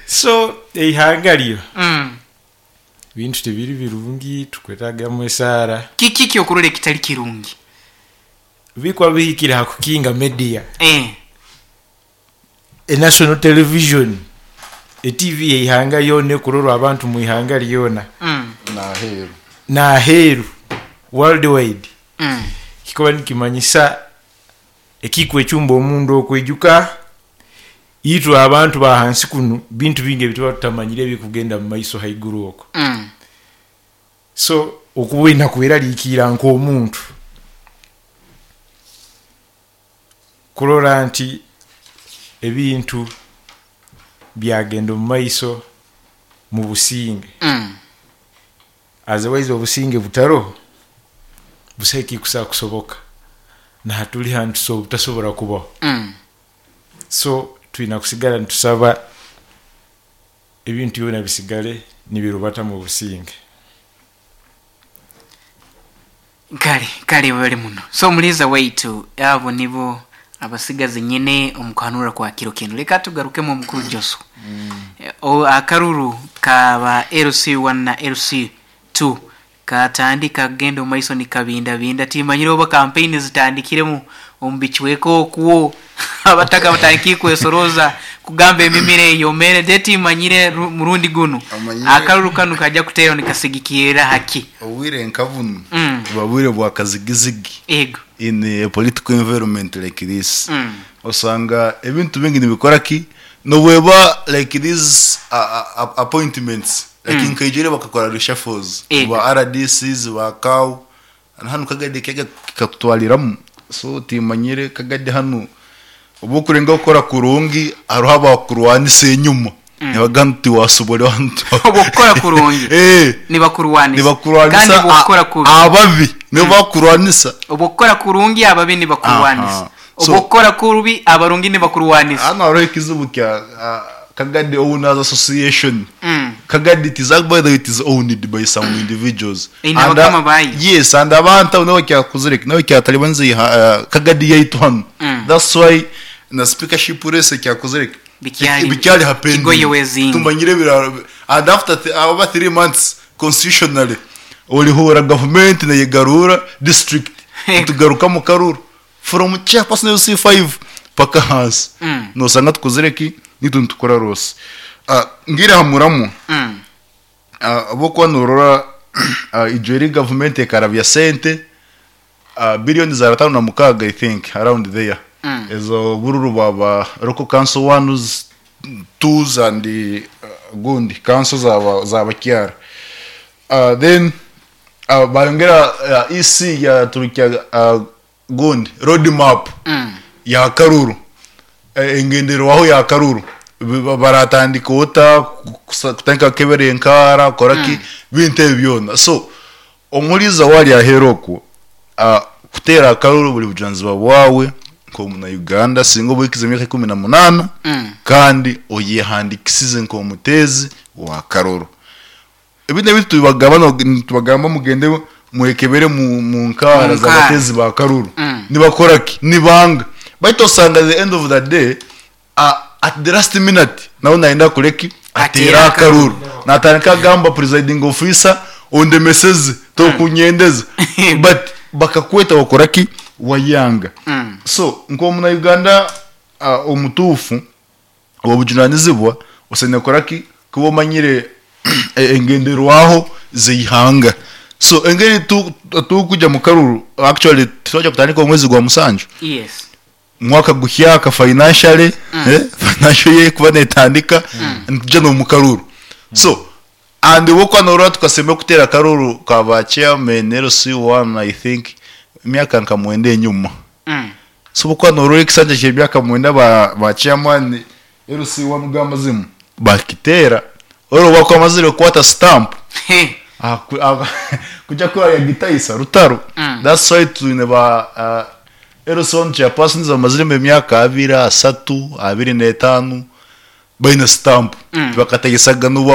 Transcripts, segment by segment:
So eihanga ryo ebintu tibiri birungi tukwetagamu esaara. Kiki ekyokurora ekitali kirungi? Bikuba bihikire ha kukinga media. E national television, e TV yeihanga lyona ekurorwa abantu mwihanga lyona. Naheru, world wide. Kikuba nikimanyisa ekikwechumba omunda okwijuka itwe abantu bahansi kunu bintu bingi ebituba tutamanyire ebikugenda mumaiso haiguru okwo. So okuba olina kweralikiira nkomuntu kurora nti ebintu byagenda omu maiso mu businge. Otherwise obusinge butaroho, busaho ekikusobola kusoboka. Nahatuli hanu tutasobora kubaho. So twina kusigara nitusaba ebintu byona bisigale nibirubata mu businge. Kale, kale webale muno. So omuliiza waitu, abo nibo abasigazi nyine omu kuhanura kwa kiro kinu. Leka tugarukemu omukuru Joswa. O, akaruru ka ba LC1 na LC2 katandika kugenda omu maiso nikabindabinda. Timanyire oba kampeyini zitandikiremu omu bicweka okwo, abataka batandikire kwesorooza kugamba emimiro eyomere. Then timanyire murundi gunu Omanyire akaruru kanu kaija kuteerwa nikasigikirra ha ki? obwire nka bunu buba bwire bwa kazigizigi Ego. in a political environment like this. Osanga ebintu bingi nibikora ki? Nobweba like these appointments like nkaija ori bakakora reshuffles Ego. ba RDCs ba CAO na hanu kagadi kega kikatutwariramu so timanyire kagadi hanu obu okurengaho kukora kurungi hariho abakurwanisa enyuma nibagamba ngu tiwasobora hanu Obu okukora kurungi Eh, nibakurwanisa kandi nibakurwanisa obu okukora kubi ababi nibo bakurwanisa. Obu okukora kurungi ababi nibakurwanisa. Aha. Obu So okukora kubi abarungi nibakurwanisa. hanu hariho ekizibu kya Kagadi Owners Association. Kagadi it is by the way it is owned by some individuals. Eine And abakama baayo. yes, and abantu abo nibo bakyakozire ki? Nibo bakyatalibaniza Kagadi yaitu hanu. That's why na speakership race ekyakozire ki? Bikyari Bikyari kigoye hapending. wezinga. Tumanyire ebiraro and after oba 3 months constitutionally orihuura government neyegarura district nitugaruka omu karuru from chairperson LC5 paka ahansi nosanga tukozire ki? Nitwe nitukora rwose. Ngiire aha muramwa ahabw'okuba norora ijo eri government ekarabya sente billion za 56 I think around there ezo bururu bwa ba local council ones, twos and gundi council za bakyara then bayongera EC yaturukya gundi road map ya karuru engenderwaho ya karuru baratandika ota kutandika kukebera enkaara kukora ki bintu ebi byona so omuhuriza waari aheeru okwo kuteera akaruru buri bujunanizibwa bwawe nk'omuna Uganda singa oba ohikize emyaka 18 kandi oyehandikisize nk'omuteezi wa karuru. Ebi n'ebi tubagamba nitubagamba mugende mwekebere mu nkaara z'abateezi ba karuru. Nibakora ki? Nibanga. Baitu osanga at the end of the day at the last minute nawe nayenda akore ki? Ateere akaruru. Natandika agamba presiding officer ondemeseze tokunyendeza but bakakweta wakora ki? Wayanga. So nk'omuna Uganda omutuufu obujunanizibwa osaine kukora ki? Kuba omanyire engenderwaho z'eihanga. So engeri turikuja mu karuru actually titwaija kutandika omwezi gwa musanju? Yes. Mwaka guhyaka financially, financial year ekuba netandika nituja n'omu karuru. So and obu norora tukasemba kuteera akaruru ka ba chairman LC1 I think emyaka nka mwenda enyuma. So obu okuba norora ekisanja ky'emyaka mwenda ba chairman LC1 g'amazimu bakiteera ori obu akuba amazire kukwata stamp kuja kuraya gitaisa rutaro. That's why twine ba LC1 chairpersons bamaziremu emyaka abiri, asatu, abiri n'etaano. Baine sitampu. Tibakataisaga n'obu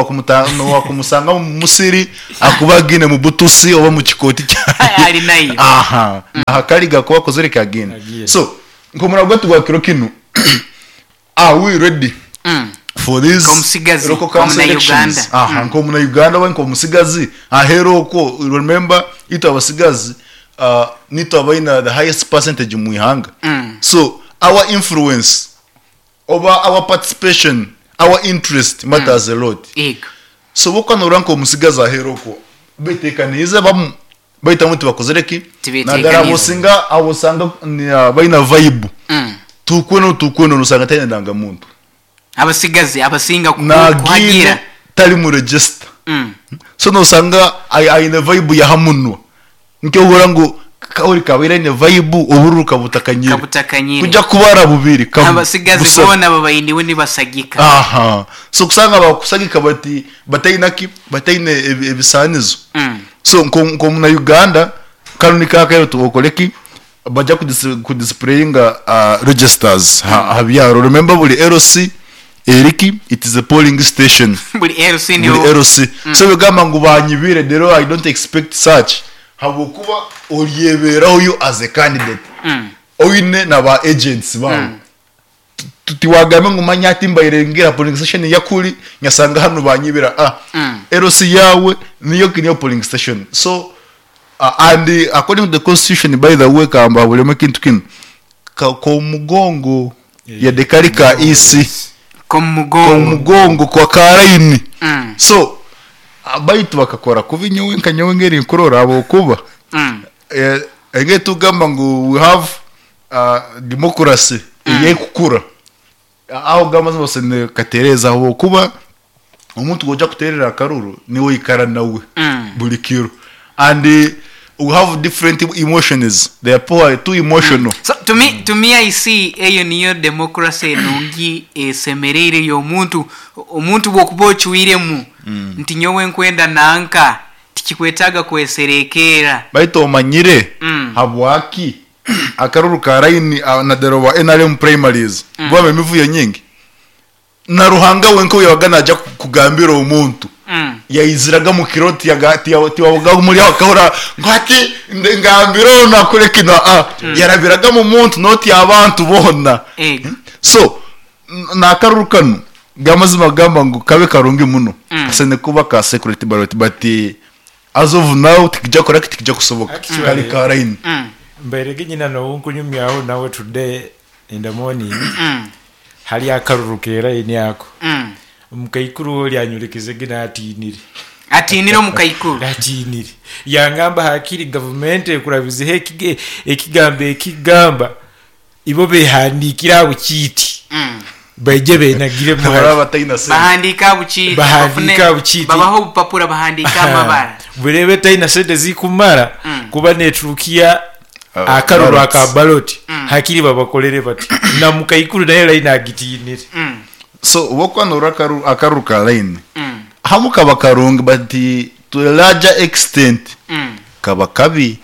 wakumusanga omu musiri akuba agiine mu butusi oba mu kikooti kyaye. Ali nayo. Aha. Aha kari gakuba akozire ki agiine. Agiine. So, nk'omurabo gwaitu gwa kiro kinu, are we ready for these Nk'omusigazi, local council nk'omunauganda. elections? Aha, nk'omunauganda oba nk'omusigazi aheeru okwo, remember itwe abasigazi nitwe abaine the highest percentage omu ihanga. So, our influence oba our participation, our interest matters a lot. Yego. So obu noorora nk'omutsigazi aheeru okwo beteekaniize bamu baitu abamwe tibakozire ki? Tibeteekaniize. Nadara abu osinga abu osanga baine vibe tukwenu tukwenu nosanga taine ndangamuntu. Abasigazi abasinga Nagiine kuhagira. tari mu register. So nosanga aine vibe yaha munwa. Nikyo ohurira ngu kauri kabaire aine vibe obururu kabutakanyire. Kabutakanyire. Kuja kubara bubiri kamwe. Abasigazi Busa. boona babainiwe nibasagika. Aha. So kusanga bakusagika bati bataine ki? Bataine ebisaanizo. So nko muna Uganda kanu niko akaire tukore ki? Baja kudisplayinga registers ha byaro. Remember buri LC eriki it is a polling station. Buri LC niho. Buri LC. So bigamba ngu banyibire rero I don't expect such. Habwokuba oryeberaho you as a candidate. Oine na ba agents bawe. Tiwagambe ngu manya ati mbaire ngira polling station yakuri nyasanga hanu banyibira. LC yawe niyo niyo polling station. So and according to the constitution, by the way, kamba bulemu ekintu kinu komugongo yadde kari ka EC. Komugongo. Komugongo kwa karaini. So baitu bakakora kubi nyowe nka nyowe ngeri nkurora abo kuba. Enge tugamba ngu we have democracy eyekukura. Aho gamba zose ne katereza aho kuba omuntu goja kuterera akaruru niwe ikara nawe buri kiro. And we have different emotions. They are poor, too emotional. So to me I see eyo niyo democracy enungi esemereire y'omuntu. Omuntu bwokuba ocuiremu nti nyowe nkwenda nanka tikikwetaaga kweserekeera. Baitu omanyire habwaki akaruru ka line na dero wa NRM primaries bwaba emivuyo nyingi na Ruhanga wenka yabaga naja kugambira omuntu. Yaiziraga mu kiro tiwabaga muri aho akahora ngo ati ngambira ono akore kino, yarabiraga mu muntu noti abantu bona. So nakaruru kano gamazima gamba ngu kabe karungi muno. Asene kuba ka security ballot but as of now tikija kora tikija kusoboka. Actually, Kari ka line. Mbairege nyina no nkunyumyaho nawe today in the morning. Hali akaruru kera ini ako. Omukaikuru oli anyurekeze gina atinire. Atinire omukaikuru. Atinire. Yangamba hakiri government ekurabizeho ekigambo ekigamba ibo behandikira abo kiiti. Baije benagire mu Baraba bataina sente. Bahandika bukiiti. Bahandika bukiiti. Babaho obupapura bahandika amabara. Burebe taina sente zikumara kuba neturukia akaruru Ballots. aka ballot. Hakiri babakolere bati. Na mukaikuru naye line agitinire. So wokwanura akaruru ka line. Hamu kaba karungi but to a larger extent kaba kabi.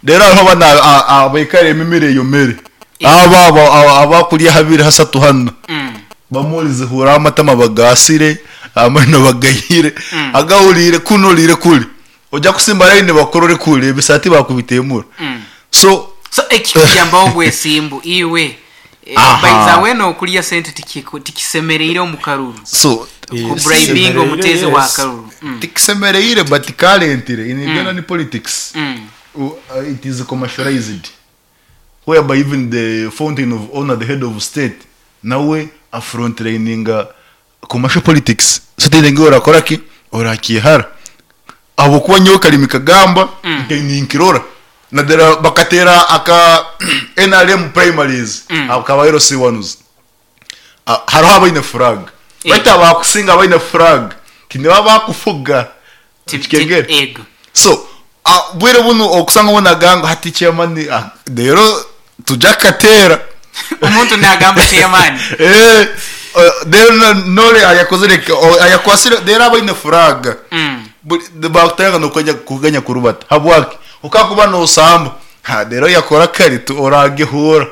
Rero hariho abana abaikara emimire eyo mere. Aba, aba, aba, abakurya habiri hasatu hano. Bamurize hura amatama bagasire, amano bagayire, agahurire kunurire kuri. Ojya kusimba line bakorore kuri ebisati bakubitemura. So So ekikuyambaho bwesimbu iwe. Baiza weno okulya sente tikisemereire omu karuru. So, Ku bribing omutezi wa karuru. Tikisemereire but currently in Uganda politics. It is commercialized. Whereby even the fountain of honor, the head of state, nawe a frontlining commercial politics. So tende orakora ki? Orakihara. Abo kuba nyowe kalimi kagamba, ninkirora. Nadera bakatera aka NRM primaries, akaba LC ones. Hariho abaine flag. Baita bakusinga abaine flag. Tiniba bakufuga. Kikengere. Ego. So, bwire buno okusanga ubona ganga hati chairman, rero tuja katera. Omuntu nagamba chairman. Rero nore ayakozere ayakwasire rero abaine flag. Bakutanga no kujya kuganya kurubata. Habwaki ukakuba no samba. Ha rero yakora kari tu oragihura.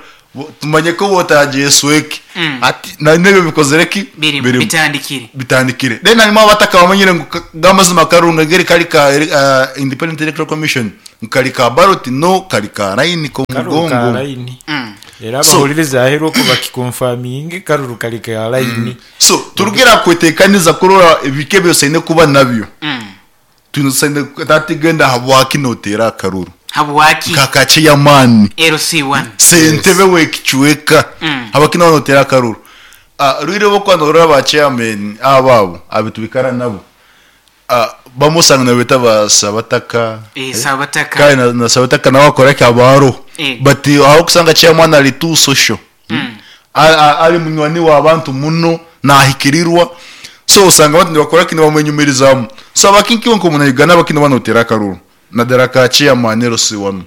Tumanye ku otagyesweke. Hati na n'ebyo bikozire ki? Birimu, Birimu. bitandikire. Bitandikire. Then harimu abatakabamanyire ngu ka- g'amazima akarunga ngeri kari ka Independent Electoral Commission ngu kari ka ballot no kari ka line Karuru ka k'omugongo. layini. Era So- abahuririza aheeru okwo bakikonfaminge karuru kari ka layini. So turugire aha kweteekaniza kurora ebika ebi osaine kuba nabyo. Twine tusaine tatigenda habwaki noteera akaruru. Habwaki? Nka ka chairman. LC1. Sentebe w'ekicweka. Habwaki noba noteera akaruru? Ah, rwire obu okuba norora ba chairman abo abo abu twikara nabo, ah, bamwe osanga nibabeeta ba Sabataka. Eh, Sabataka. Kare na, na Sabataka nawe akora ki aba aroho. Eh. But aho okusanga chairman ari too social. Ari munywani w'abantu muno, naahikirirwa. So osanga abantu nibakora ki? Nibamwenyumirizaamu. So abaki nkiwe nk'omunya Uganda abaki noba nooteera akaruru nadara ka chairman LC wanu.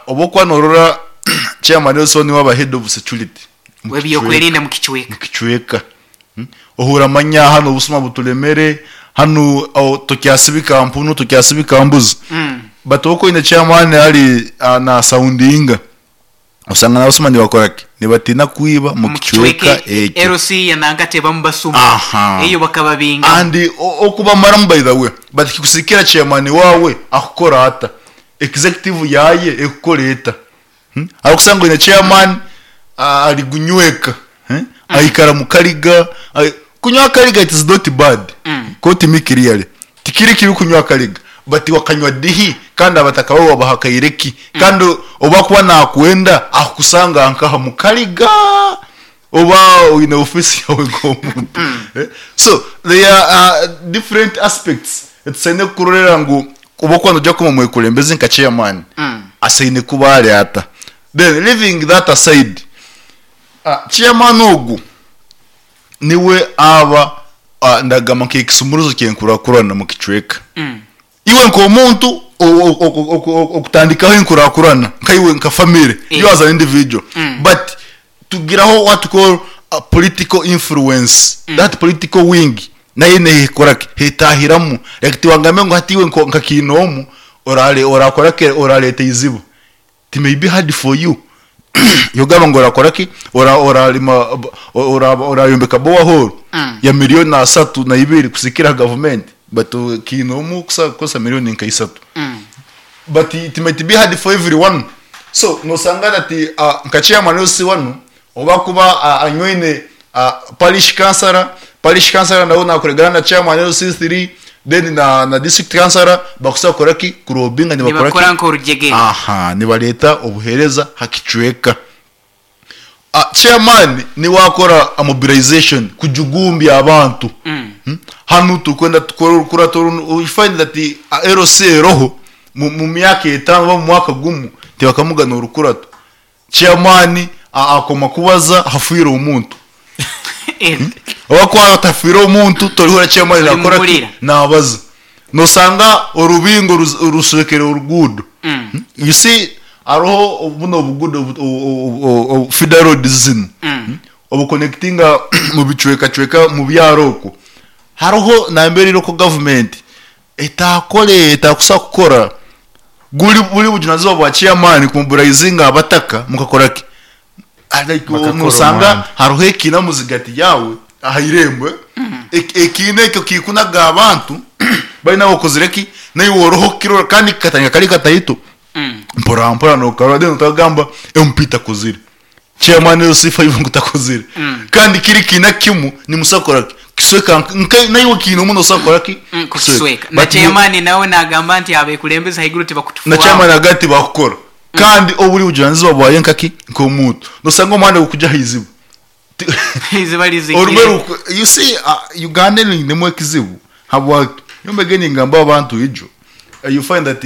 Obu okuba noorora chairman LC wanu niwe aba head of security omu kicweka. W'ebyokwerinda omu kicweka. Omu kicweka. Ohuura amanya hanu obusuma buturemere, hanu tokyasibika mpunu, tokyasibika mbuzi. But obu okuba oine chairman ari naasaundinga. Osanga n'abasuma nibakora ki? Nibatiina kwiba omu Omu kicweka kicweka ekyo. LC ya Nankati ebamu basuma Aha. eyo bakababingamu. And okubamaramu by the way, but kikusikira chairman waawe akukora ata? Executive yaaye ekukora eta? Hmm? Ahabw'okusanga oine chairman ari gunyweka, aikara mu kariga, kunywa akariga it is not bad, quote me clearly. Tikiri kibi kunywa akariga but wakanywa dihi kandi abataka bawe wabahakaire ki? Kandi obu akuba nakwenda akukusanga nkaha mu kariga oba oine office yawe nk'omuntu. So there are different aspects etusaine kurorera ngu obu okuba noija kuba omwekurembezi nka chairman asaine kuba ari ata. Then leaving that aside, chairman ogu niwe aba ndagamba nk'ekisumuruzo ky'enkurakurana omu kicweka. Iwe nk'omuntu okutandikaho enkurakurana nkaiwe nka family, you as an individual, but tugiraho what we call a political influence, that political wing nayo nekora ki? Etahiramu. Like tiwangambe ngu hati iwe nka Kinoomu orakora ki? Orareeta eizibu. It may be hard for you yogamba ngu orakora ki ora orarima ora orayombeka borehole ya million asatu na ibiri kusikira aha government but kiine omu kusa kukozesa million nka isatu but it might be hard for everyone so nosanga that nka chairman LC wanu obu akuba anywaine parish councillor, parish councillor nawe nakoregana na chairman LC3 then na na district councillor bakusobola kukora ki? Kurobinga nibakora Nibakora ki? nk'orugyegere. Aha, nibareeta obuheereza ha kicweka. Chairman niwe akora mobilization kujugumbya abantu. Hanu turikwenda tukore orukurato runu, you find that LC eroho mu myaka etaano oba mu mwaka gumwe tibakamugana orukurato. Chairman akoma kubaza hafiire omuntu. Oba ku hatafiire omuntu torihurira chairman nakora ki? Orimuhurira. Nabaza. Nosanga orubingo rushwekire oruguudo. You see hariho buno obuguudo feeder roads zinu obuconnectinga omu bicwekacweka omu byaro okwo. Hariho nambere local government etakore etakusobola kukora. Guri buri bujunanizibwa bwa chairman kumobilizinga abataka mukakora ki? Like Bakakora nosanga omuhanda. hariho ekiina muzigati yaawe aha irembo ekiina ekyo kikunaga abantu baine ahu okozire ki? Naiwe oriho kukirora kandi kikatandika kari kataito mpora mpora nokarora then otagamba MP takozire chairman LC5 ngu takozire kandi kiri kiina kimwe nimusobola kukora ki? Kisweka nka naiwe kiine omu nosobola kukora ki? Kukisweka. Na But chairman nawe nagamba nti abekulembeze haiguru tibakutufuaho. Na chairman agamba nti bakukora. Kandi oburi bujunanizibwa bwawe nkaki? Nk'omuntu. Nosanga omuhanda gukugya aha izibu. Eiziba rizigire. Orumwe ruku, you see, Uganda einemu ekizibu habwaki? Nyowe mbege ningamba abantu ijo, you find that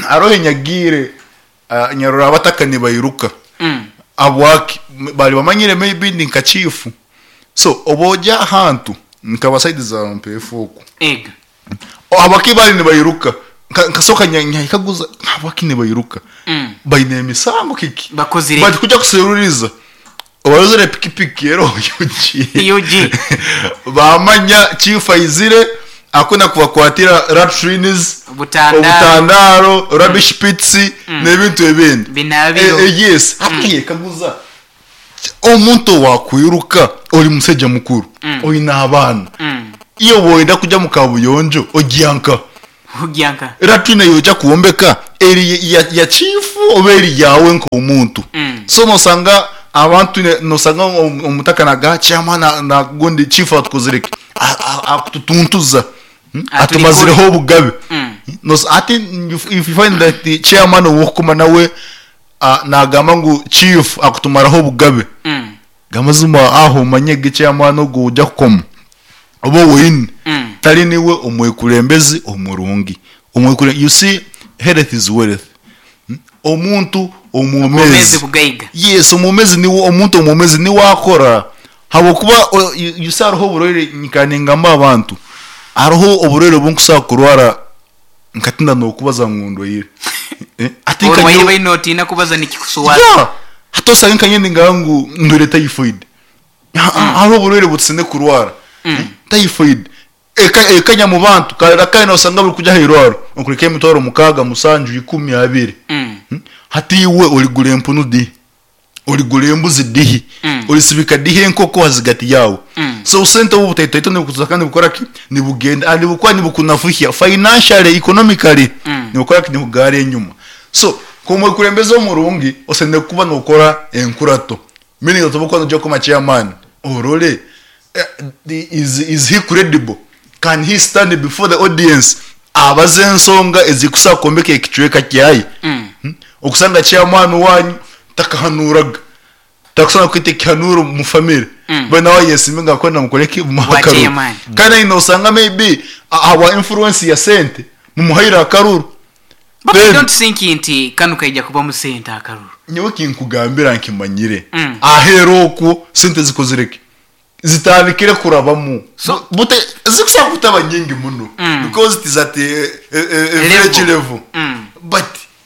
haroho enyagiire nyarora abataka nibairuka. Habwaki? Bari bamanyire maybe ndi nka chief. So obu ogya ahantu nka side za Mpeefu okwo. Ego. Habwaki bari nibairuka? Nkasoka nyahikaguza habwaki nibairuka? Baine emisango kiki? Bakozire But kuja kuseruriza obarozire pikipiki eroho UG. UG. Bamanya chief aizire akuna kubakwatira latrines, Obutandaro. obutandaro, rubbish pits n'ebintu ebindi. Binabiro. Yes. Hati kaguza. Omuntu owakwiruka ori mushaija mukuru oine abaana, iwe woyenda kugya mu kabuyonjo ogya nka? Ogya nka? Latrine yoja kwombeka eri ya chief oba eri yawe nk'omuntu? So nosanga abantu nosanga omutaka nagamba chairman nagundi chief atukozire ki? Akututuntuza. Atumazireho obugabe. Hati if you find that chairman owokukoma nawe Nagamba ngu chief akutumaraho obugabe gamazima aho omanye ge chairman ogu owuja kukoma oba owoine tari niwe omwekurembezi omurungi you see health is wealth omuntu Obwomezi bugaiga. Yes omwomezi niwe omuntu omwomezi niwe akora habwokuba you see hariho oburwaire nyikara ningamba abantu hariho oburwaire obunkusobora kurwara Nkatina nokubaza ngu ndwaire. Eh, ati nka Orwaire nyowe- baine notiina kubaza nikikuswaza. Yeah! Hati osange nka nyowe ningamba ngu ndwaire typhoid. Hariho oburwaire butusine kurwara. Typhoid eka ekanya mu bantu karira kare nosanga buri kujya aha irwaro okureka emitwaro mukaaga, musanju, ikumi, abiri. Hati iwe origura empunu di? Origura embuzi dihi? Orisibika dihi enkoko ahazigati yaawe? So obusente obu obutaitoaito nibukuza kandi nibukora ki? Nibugenda and nibukora nibukunafuhya financially, economically nibukora ki? Nibukugarra enyima. So nk'omwekurembezi omurungi osemeriire kuba nokora enkurato meaning that obu okuba noija kukoma chairman orole is is he credible? Can he stand before the audience abaze ensonga ezikusobola kwombeka ekicweka kyaye? Okusanga chairman wanyu takahanuuraga, takusobola kweta ekihanuuro omu family, mbwenu nawe ayesimbe ngu akwenda mukore ki? Mumuhe Bwa akaruru. chairman. Kandi aine osanga maybe ahabwa influence ya sente mumuhaire akaruru. But I Then don't think nti kanu kaija kubamu sente akaruru. nyowe kinkugambira nkimanyire, aheeru okwo sente zikozire ki? Zitandikire kurabamu. So- Bute zikusobola kutaba nyingi muno because it is at a village level but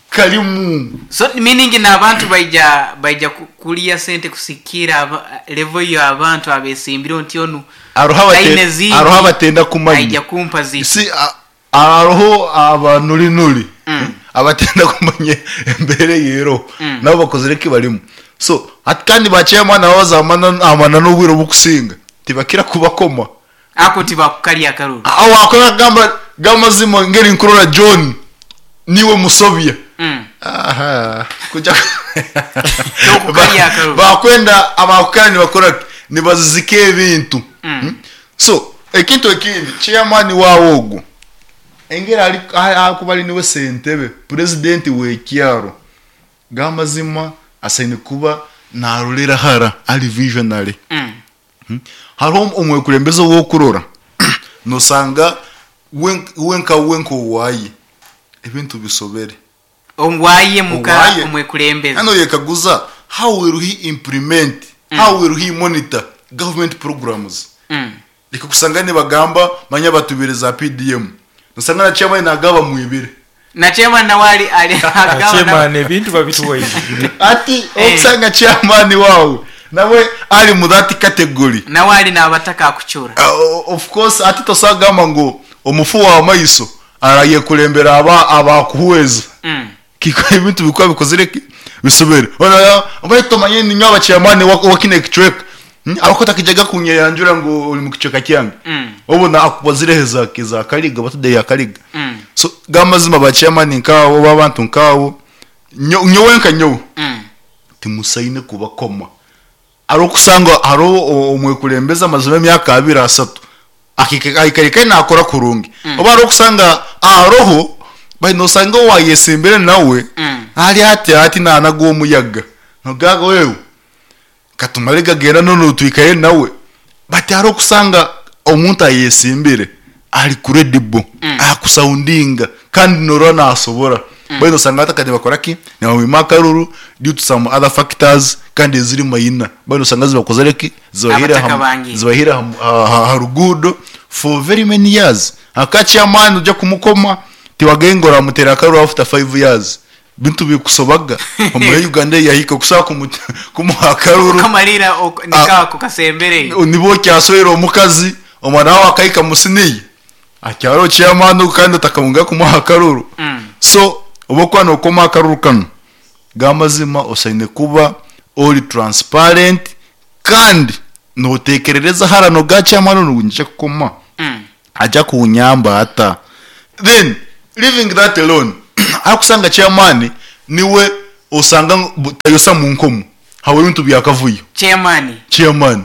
karimu. So meaning n'abantu baija baija ku- kulya sente kusikira aba, level yo abantu abesimbireho nti onu Hariho abate- taine zindi hariho abatenda kumanya. aija kumpa ziti. Si hariho abanurinuri abatenda kumanya embeera ei eriho nabo bakozire eki barimu. So hati kandi ba chairman nabo baza amana n'obwire obukusinga tibakira kubakoma. Ako tibakukarya akaruru. Aho wakora akagamba gamazima ngeri nkurora John niwe musobya. Aha kuja Tokukarya akaruru. Bakwenda abakukara nibakora ki? Nibazizika ebintu. So ekintu ekindi chairman waawe ogu engeri ari ahakuba ari niwe sentebe president w'ekyaro gamazima asaine kuba narorera hara ari visionary. Hariho omwekurembeze ou okurora nosanga we we nka we nk'owaaye ebintu bisobere. Owaaye muka Owaaye. omwekurembeze. Hanu oyekaguza how will he implement, how will he monitor government programs? Reka kusanga nibagamba manya batubire za PDM. Nosanga na chairman nagaba bamwibire. Na chairman nawe ari ari agaba nawe. Chairman ebintu babituwaire. Ati Eh. okusanga chairman wawe nawe ari mu that category. Nawe ari nabataka akucura. Of course ati tosobola kugamba ngu omufu wa maiso arayekurembera aba abakuhweza. Kiko ebintu bikuba bikozire ki? Bisobere. Ona baitu tomanye ninywe aba chairman wa kino ekicweka. Ahabw'okuba otakijaga kunyeyanjura ngu ori mu kicweka kyange. Obona akubazireho eza eza Kariga oba today ya Kariga. So gamazima ba chairman nkaabo oba abantu nkaabo nyo nyowe nka nyowe timusaine kubakoma. Hariho okusanga hariho omwekurembezi amazire emyaka abiri asatu ahika ahika nakora kurungi. Oba hariho okusanga aroho but nosanga owayesimbire nawe ari hati hati nanaga omuyaga nogira ngu wewe katumare gagenda nono twikare nawe but hariho okusanga omuntu ayesimbire ari credible akusoundinga kandi norora nasobora mbwenu nosanga hati akade nibakora ki nibamwima akaruru due to some other factors kandi eziri mayina mbwenu nosanga zibakozire ki zibahiire Abataka aha bangi. zibahiire aha aha ruguudo for very many years aka chairman ojya kumukoma tiwagenda ngu oramuteera akaruru after 5 years Bintu bikusobaga omuri Uganda eyahika okusobola kumuha akaruru. Okamarira niko kasembere. Niba okyaswera omukazi omwana wawe akahika mu siniya akyari chairman ogu kandi otakabunga kumuha akaruru. So obu okuba nokoma akaruru kanu gamazima osaine kuba ori transparent kandi notekerereza hara noga chairman onu nyija kukoma aja kunyamba ata? Then leaving that alone ahakusanga chairman niwe osanga tayosa munkomo habwebintu byakavuyo. Chairman. Chairman.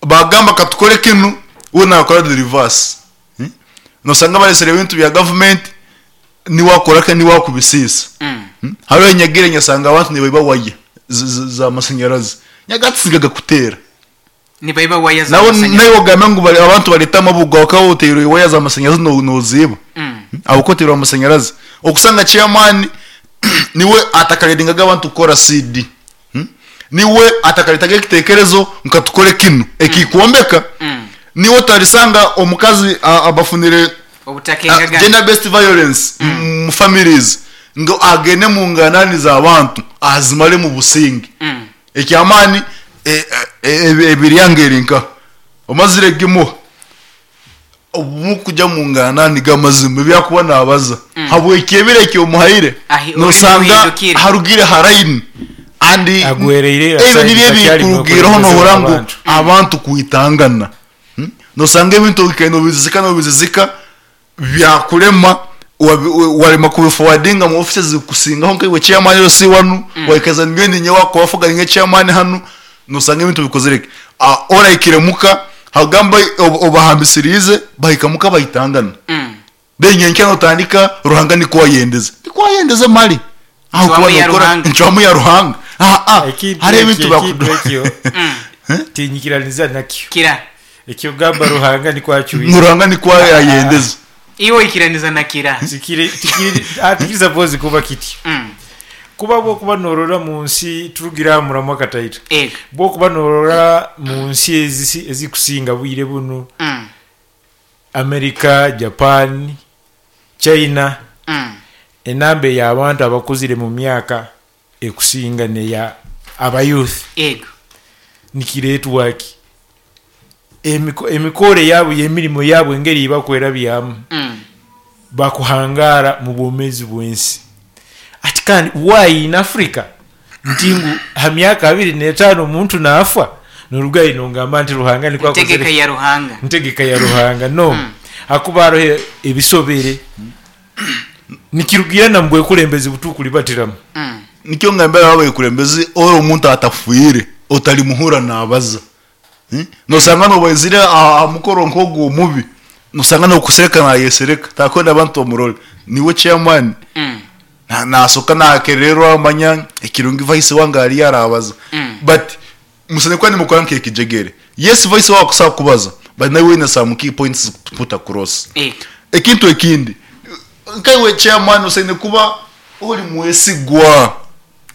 Bagamba katukore kinu we nakora the reverse. Nosanga baresire ebintu bya government niwe akora ke niwe akubisiisa. Hariho enyagire nyasanga abantu nibaiba waya za masanyarazi nyagatsi gakutera. Nibaiba waya za Nawe masanyarazi. nawe ogambe ngu abantu bareta amabuga bakaba oteire waya za masanyarazi noziiba. Ahabw'okuba oteirwe amasanyarazi. Okusanga chairman niwe atakaredingaga abantu kukora CD. Niwe atakaretaga ekitekerezo nka tukore kinu ekikwombeka. Niwe otarisanga omukazi abafunire Obutakengagana. gender based violence mu families ngu agende mu nganani z'abantu azimare mu businge. Ekyamaani ebiryanga eri nka omazire gimuha obu kujya mu nganani g'amazima ebyakuba nabaza habw'ekyebiro ekyomuhaire Ahi, nosanga orurimi ruhindukire. harugire haraini and Agwereire ebyo aside nibyo takyari ebikurugireho mukulembeze nohura ngu w'abantu. abantu kwitangana. Nosanga ebintu okaine obizizika nobizizika byakurema warema kubiforwardinga mu offices zikusingaho nkaiwe chairman yo si wanu waikaza ngende nyewe wakubafuga nge chairman hanu nosanga ebintu bikozereke. Oraikire muka hagamba obahambisirize bahika muka bahitangana. Then nyenke notandika Ruhanga niko wayendeze. Niko wayendeze mali. Aho Ncwamu kuba ya nokora Ruhanga. ncwamu ya Ruhanga. Ekintu Hari ebintu ekyo, ekintu bakudu. ekyo tinyikiraniza nakyo. Kira. Ekyo gamba Ruhanga niko acuize. Ruhanga niko ayendeze. Iwe oikiraniza na kira. Tikiri, tikiri, tikiri suppose kuba kityo. Kuba bwokuba norora mu nsi turugira muramu akataito. Ego. Bwokuba norora mu nsi ezikusinga bwire bunu. America, Japan, China. Enamba y'abantu abakuzire mu myaka ekusinga neya aba youth. Ego. Nikiretwa ki? Emikore yabo y'emirimo yabo engeri bakwera byamu. Bakuhangara mu bwomezi bw'ensi. Ati kandi why in Africa ntingu ha myaka 25 omuntu naafa norugayi nongamba nti Ruhanga niko akozere. Ntegeka ya Ruhanga. Ntegeka ya Ruhanga no. Hakuba hariho ebisobere. Nikirugira na mbwekulembezi butukulibatiramu. Nikyo ngambira abakulembezi ori omuntu atafuire otalimuhura nabaza. Nosanga nobaizire mukoro nkogu omubi. Nosanga nokusereka nayesereka takwenda abantu omurole. Niwe chairman. Nasoka nakererwa amanya ekirungi vice wange ari yarabaza. But musane kwani mukora nkekijegere. Yes vice wako kusaba kubaza. But nawe wina some key points to put across. Ekintu ekindi. Nkaiwe chairman usaine kuba ori mwesigwa.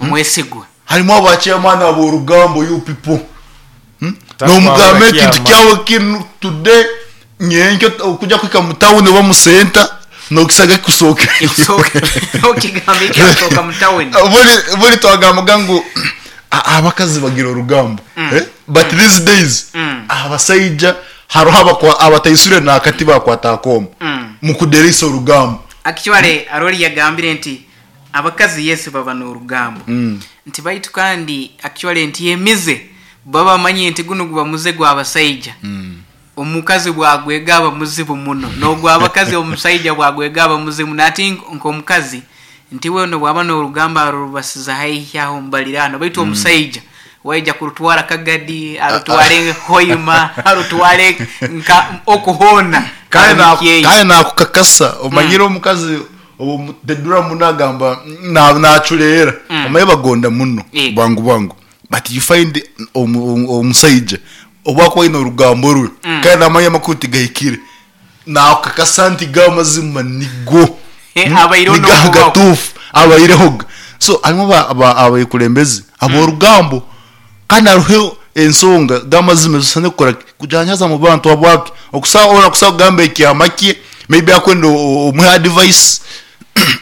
Mwesigwa. Harimu aba chairman aborugambo you people. Takwa Nomugambe abakyama. ekintu kyawe kinu today nyenkyo okujya kwika mu town oba mu center nokisaga kusoka. Ekusoka. Okigambe ekyasoka mu town. Buri twagambaga ngu abakazi bagira orugambo. But these days abasaija hariho abataisure nakati bakwata akoma. Mukuderisa orugambo. Actually arori yagambire nti abakazi Yesu baba n'orugambo. Nti baitu kandi actually nti yemize baba manye nti guno guba muze gw'abasaija. Omukazi bwagwega aba muzibu muno. N'ogw'abakazi omusaija bwagwega aba muzibu. Nati nk'omukazi nti we no bwaba n'orugamba arubasiza haihi aho mbalirano. Baitu omusaija waija kurutwara Kagadi, arutware Hoima, arutware nka okuhona. Kandi Arumukyeyi. nakukakasa omanyire omukazi tedura muno agamba nacureera. Omaye bagonda muno bwangu bwangu. But you find omusaija obwakuba aine orugambo rwe kandi namanya amakuru tigahikire. Nakukakasa nti gamazima nigo. Abaireho Ni n'okubaho. gatufu abaireho. So harimu abakulembezi aborugambo kandi hariho ensonga gamazima zisane kukora kujanyaza mu bantu abwake. Okusa ora kusa kugamba ekyama kye maybe akwenda omuhe advice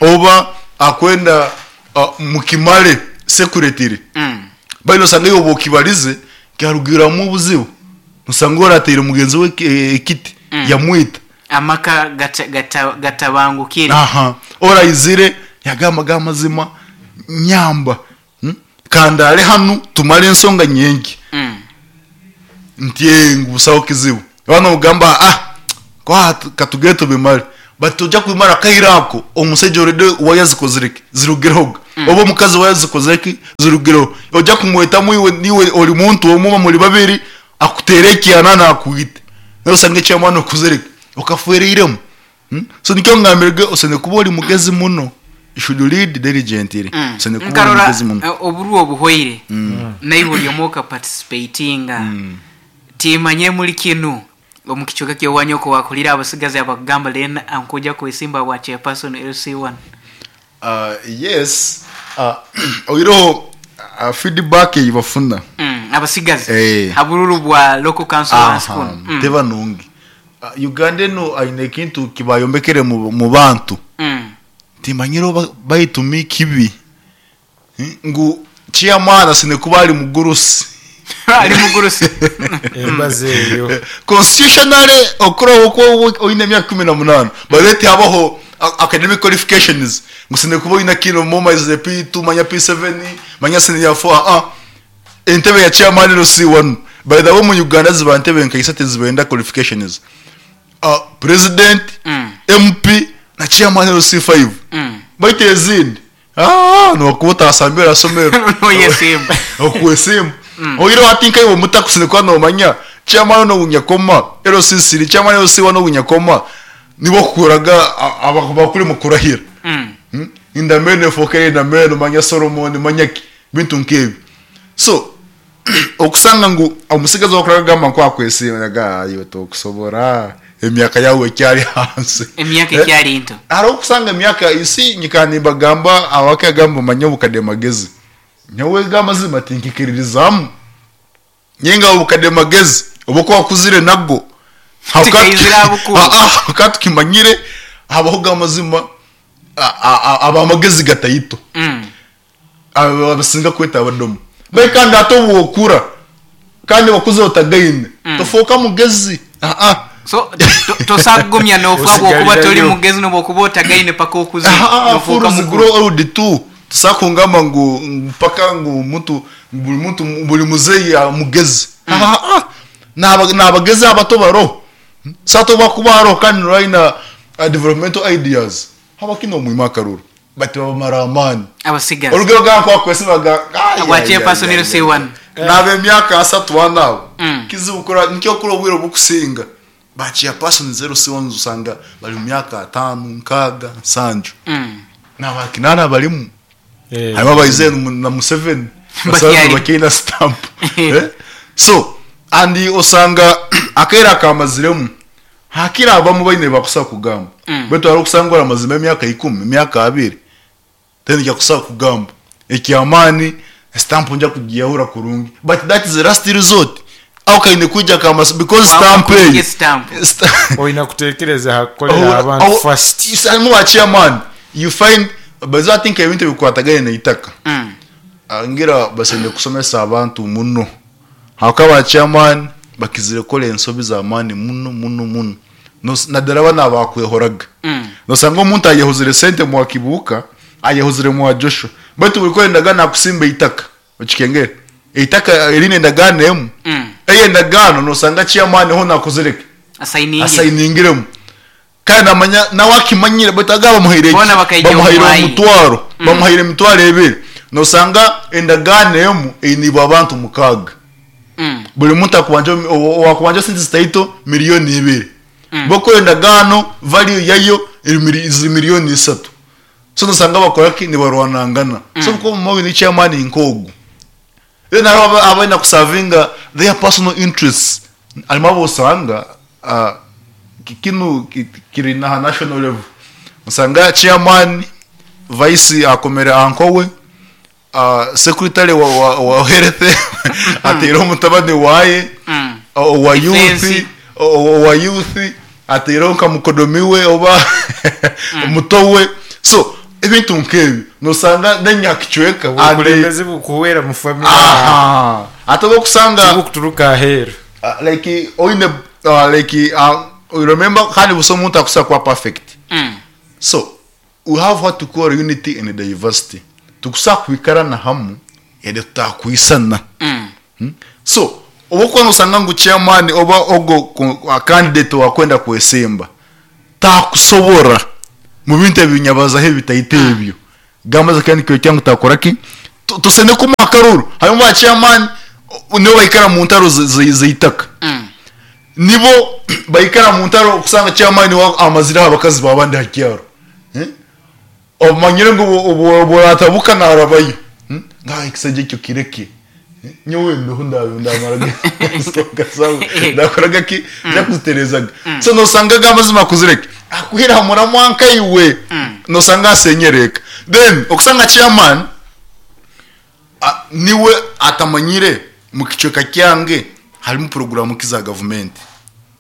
oba akwenda mukimale secretary. Bali osanga iyo bokibalize kyarugiramu obuzibu. Osanga orateire mugenzi we ekiti yamwita. Amaka gatabangukire. Oraizire yagamba gamazima nyamba. Kandaare hanu tumare ensonga nyenkya. Nti ee ngu busaho kizibu. Waaba nogamba ah ku katugende tubimare but toija kubimara akaire ako omusaija already waya zikozire ki zirugireho oba omukazi waya zikozire ki zirugireho. Oija kumwetamu iwe niiwe ori muntu omwe oba muri babiri akuteere ekyana nakwite nawe osange ekyamaani okozire ki okafwereiremu. So nikyo ngambire ge osene kuba ori mugezi muno you should lead diligently osene kuba ori Nkarora mugezi muno. oburwa obuhweire naiwe ori omwe okaparticipatinga timanyire muri kinu omu kicweka ky'owanyu oku wakurire abasigazi abakugamba then nkuja kwesimba bwa chairperson LC1. Yes oihireho feedback ei bafuna. Abasigazi Eh. ha bururu bwa local council wansi kunu. Teba nungi. Uganda enu aine ekintu kibayombekere mu bantu timanyire oba baitu ni kibi ngu chairman asine kuba ari mugurusi. Ari mugurusi. Embazo eyo. Constitutionally okuraho oku oine emyaka 18 by the way tihabaho academic qualifications ngu osine kuba oine kinu omaiziire P2 manya P7 manya senior 4 aa entebe ya chairman LC1 by the way omu Uganda ziba ntebe nka isatu ezibenda qualifications president, MP na chairman LC5 baitu ezindi Nokuba otasambire aha somero. Noyesimba. Okwesimba. Oihireho hati nkaiwe omuto akusine kuba nomanya chairman ogu nyakoma LC siri, chairman LC one ogu nyakoma nibo okukuraga abakuri mukurahira. Endameno efooka eri endameno manya Solomon manya ki bintu nk'ebyo. So okusanga ngu omutsigazi ou orikuraga kugamba ngu akwesiima nagamba iwe tokusobora emyaka yaawe ekyari ahansi. Emyaka ekyari nto. Hariho okusanga emyaka you see nyikara nimbagamba abakagamba manya obukade magezi nyowe go amazima tinkikiririzamu ninga obukade magezi obu oku wakuzire nago Tikaizire aha bukuru. Ka tukimanyire habaho go amazima abamagezi gataito. Abo abasinga kweta abadomo. Baitu kandi hati obu okura kandi wakuza otagaine tofooka mugezi aa. So tosobola kugumya nofa habwokuba tori Osigarirayo. mugezi nobwokuba otagaine paka okuzire Aa nofuuka fools mukuru. grow old too. Tosobola kungamba ngu mpaka ngu omuntu buri muntu buri muzeeyi mugezi aa nabagezi abato baroho. So hati obu akuba aroho kandi noba aine developmental ideas habwaki nomwima akaruru. Bati babamara amaani. Abatsigazi. Orugero gamba nku bakwesibaga Abwa chairperson LC1. N'ab'emyaka asatu ana abo. Kizibu kurora nikyo okura obwire obukusinga ba chairpersons LC1 osanga bari omu myaka ataano, nkaaga, nsanju. Naba kinaana barimu. Harimu abaizire na Museveni. Osanga bakyaine stamp. So and osanga akaire akamaziremu Hakiri abamu baine ebi bakusobola kugamba. Baitu hariho okusanga oramazemu emyaka ikumi, emyaka abiri, then oija kusobola kugamba. Eky'amaani, stamp nja kugiyahura kurungi. But that is the last resort. Aho kaine kwija ka masi because stamp Wakukurungi eyo. stamp. Oine kutekereza aha kukorera abantu first. Harimu ba chairman, you find, by the way I think ebintu ebikwatagaine n'eitaka, ngira basemeriire kusomesa abantu muno. Ahabw'okuba ba chairman bakizire kukora ensobi z'amaani muno muno muno naddala banu abakwehoraga. Nosanga omuntu ayehozire sente mwa Kibuuka, ayehozire mwa Joshua baitu buri kukora endagaano akusimba eitaka okikengere? Eitaka eriine endagaano emu, eyo endagaano nosanga chairman hoona akozire ki? Asayiningiremu. Kandi namanya nawe akimanyire baitu agaba bamuhaire ki? Boona bakaija omu Bamuhaire mwanya. omutwaro, bamuhaire emitwaro ebiri. Nosanga endagaano emu einibwe abantu mukaaga. Buri muntu akubanja owakubanja sente zitaito milioni ibiri. Bokukora endagaano value yayo eri mili ziri milioni isatu. So nosanga bakora ki? Nibarwanangana. So obu okuba oine chairman nk'ogu, then hariho abaine kusavinga their personal interests. Harimu abu osanga kinu kiri naha national level. Osanga chairman, vice akomere uncle we, secretary wa health ateireho mutabani waye, owa youth, owa youth ateireho nka mukodomi we oba muto we. So ebintu nk'ebyo nosanga n'enyakicweka and Obukulembeze bukuhwera mu family. Aha. Ate obu okusanga Tibukuturuka aheeru. Like oine like remember kandi busa omuntu akusobola kuba perfect. So we have what to call unity in diversity. Tikusobola kwikarana hamu. Yade tutakwisana. So obu okuba nosanga ngu chairman oba ogo candidate owakwenda kwesimba takusobora mu bintu ebi nyabazaho ebitaito ebyo, gamba kandi nikyoreka ngu takora ki? Tusene kumuha akaruru. Harimu ba chairman nibo baikara mu ntaro zeitaka, nibo baikara mu ntaro okusanga chairman niwe amazire aha bakazi babandi aha kyaro. Omanyire ngu obu oratabuka narabayo. Ngu ekisajja ekyo kireke. Nyowe ndiho ndamaraga ensonga zawe. Ndakoraga ki? Ndakuzitereezaga. So nosanga ago amazima akuzire ki? Akwihire aha muramwa nkaiwe. Nosanga asenyere eka. Then okusanga chairman niwe atamanyire mukicweka kyange harimu puroguramu ki za gavumenti.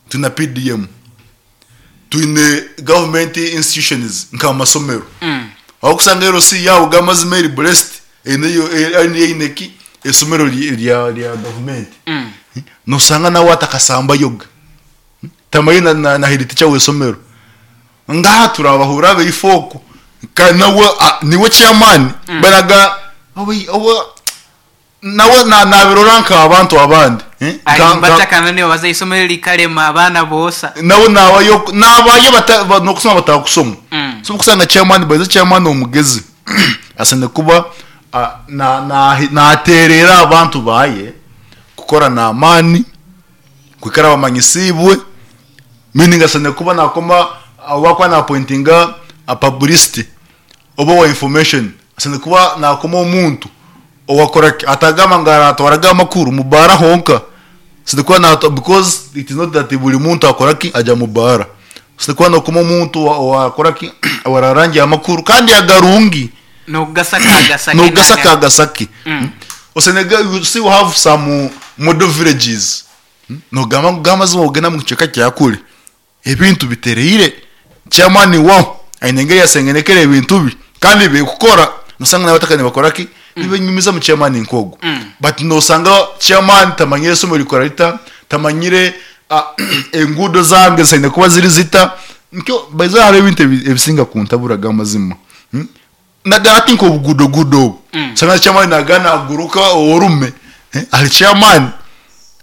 Twine PDM. Twine government institutions nka amasomero ahu orikusanga LC yaawe gamazima eri blessed eine eine ki eisomero rya rya government nosanga nawe atakasambayoga tamanyire na na head teacher w'eisomero ngaha turabahura abaife okwo kandi nawe niwe chairman baraga oba Nawe nabirora nk'abantu abandi. Ari nibatakana nibabaza eisomero rikarema abaana boosa. Nawe nabayo nabayo nokusoma batakusoma. So okusanga chairman by the chairman omugezi asine kuba naterera abantu baye kukora n'amaani kwikara bamanyisibwe meaning asine kuba nakoma obu akuba na appointinga a publicity oba owa information asine kuba nakoma omuntu owakora ki atagamba ngu aratwaraga amakuru mu baara honka asine kuba na because it is not that buri muntu akora ki agya mu baara asine kuba nakoma omuntu owakora ki owararangira amakuru kandi agarungi Nokugasaka agasake nokugasaka agasake. Osenega you see we have some model villages nogamba ngu gamazima ogenda mu kicweka kya kure Ebintu bitereire, chairman waho aine engeri yasengenekere ebintu bye kandi bikukora nosanga nabataka nibakora ki nibenyumizamu chairman nk'ogwo but nosanga chairman tamanyire isomero rikora rita tamanyire enguudo zange zisaine kuba ziri zita nikyo by the way hariho ebintu ebisinga kuntabura amazima Naddala ati nk'obuguudoguudo obu osanga chairman nagenda naguruka orume ahari chairman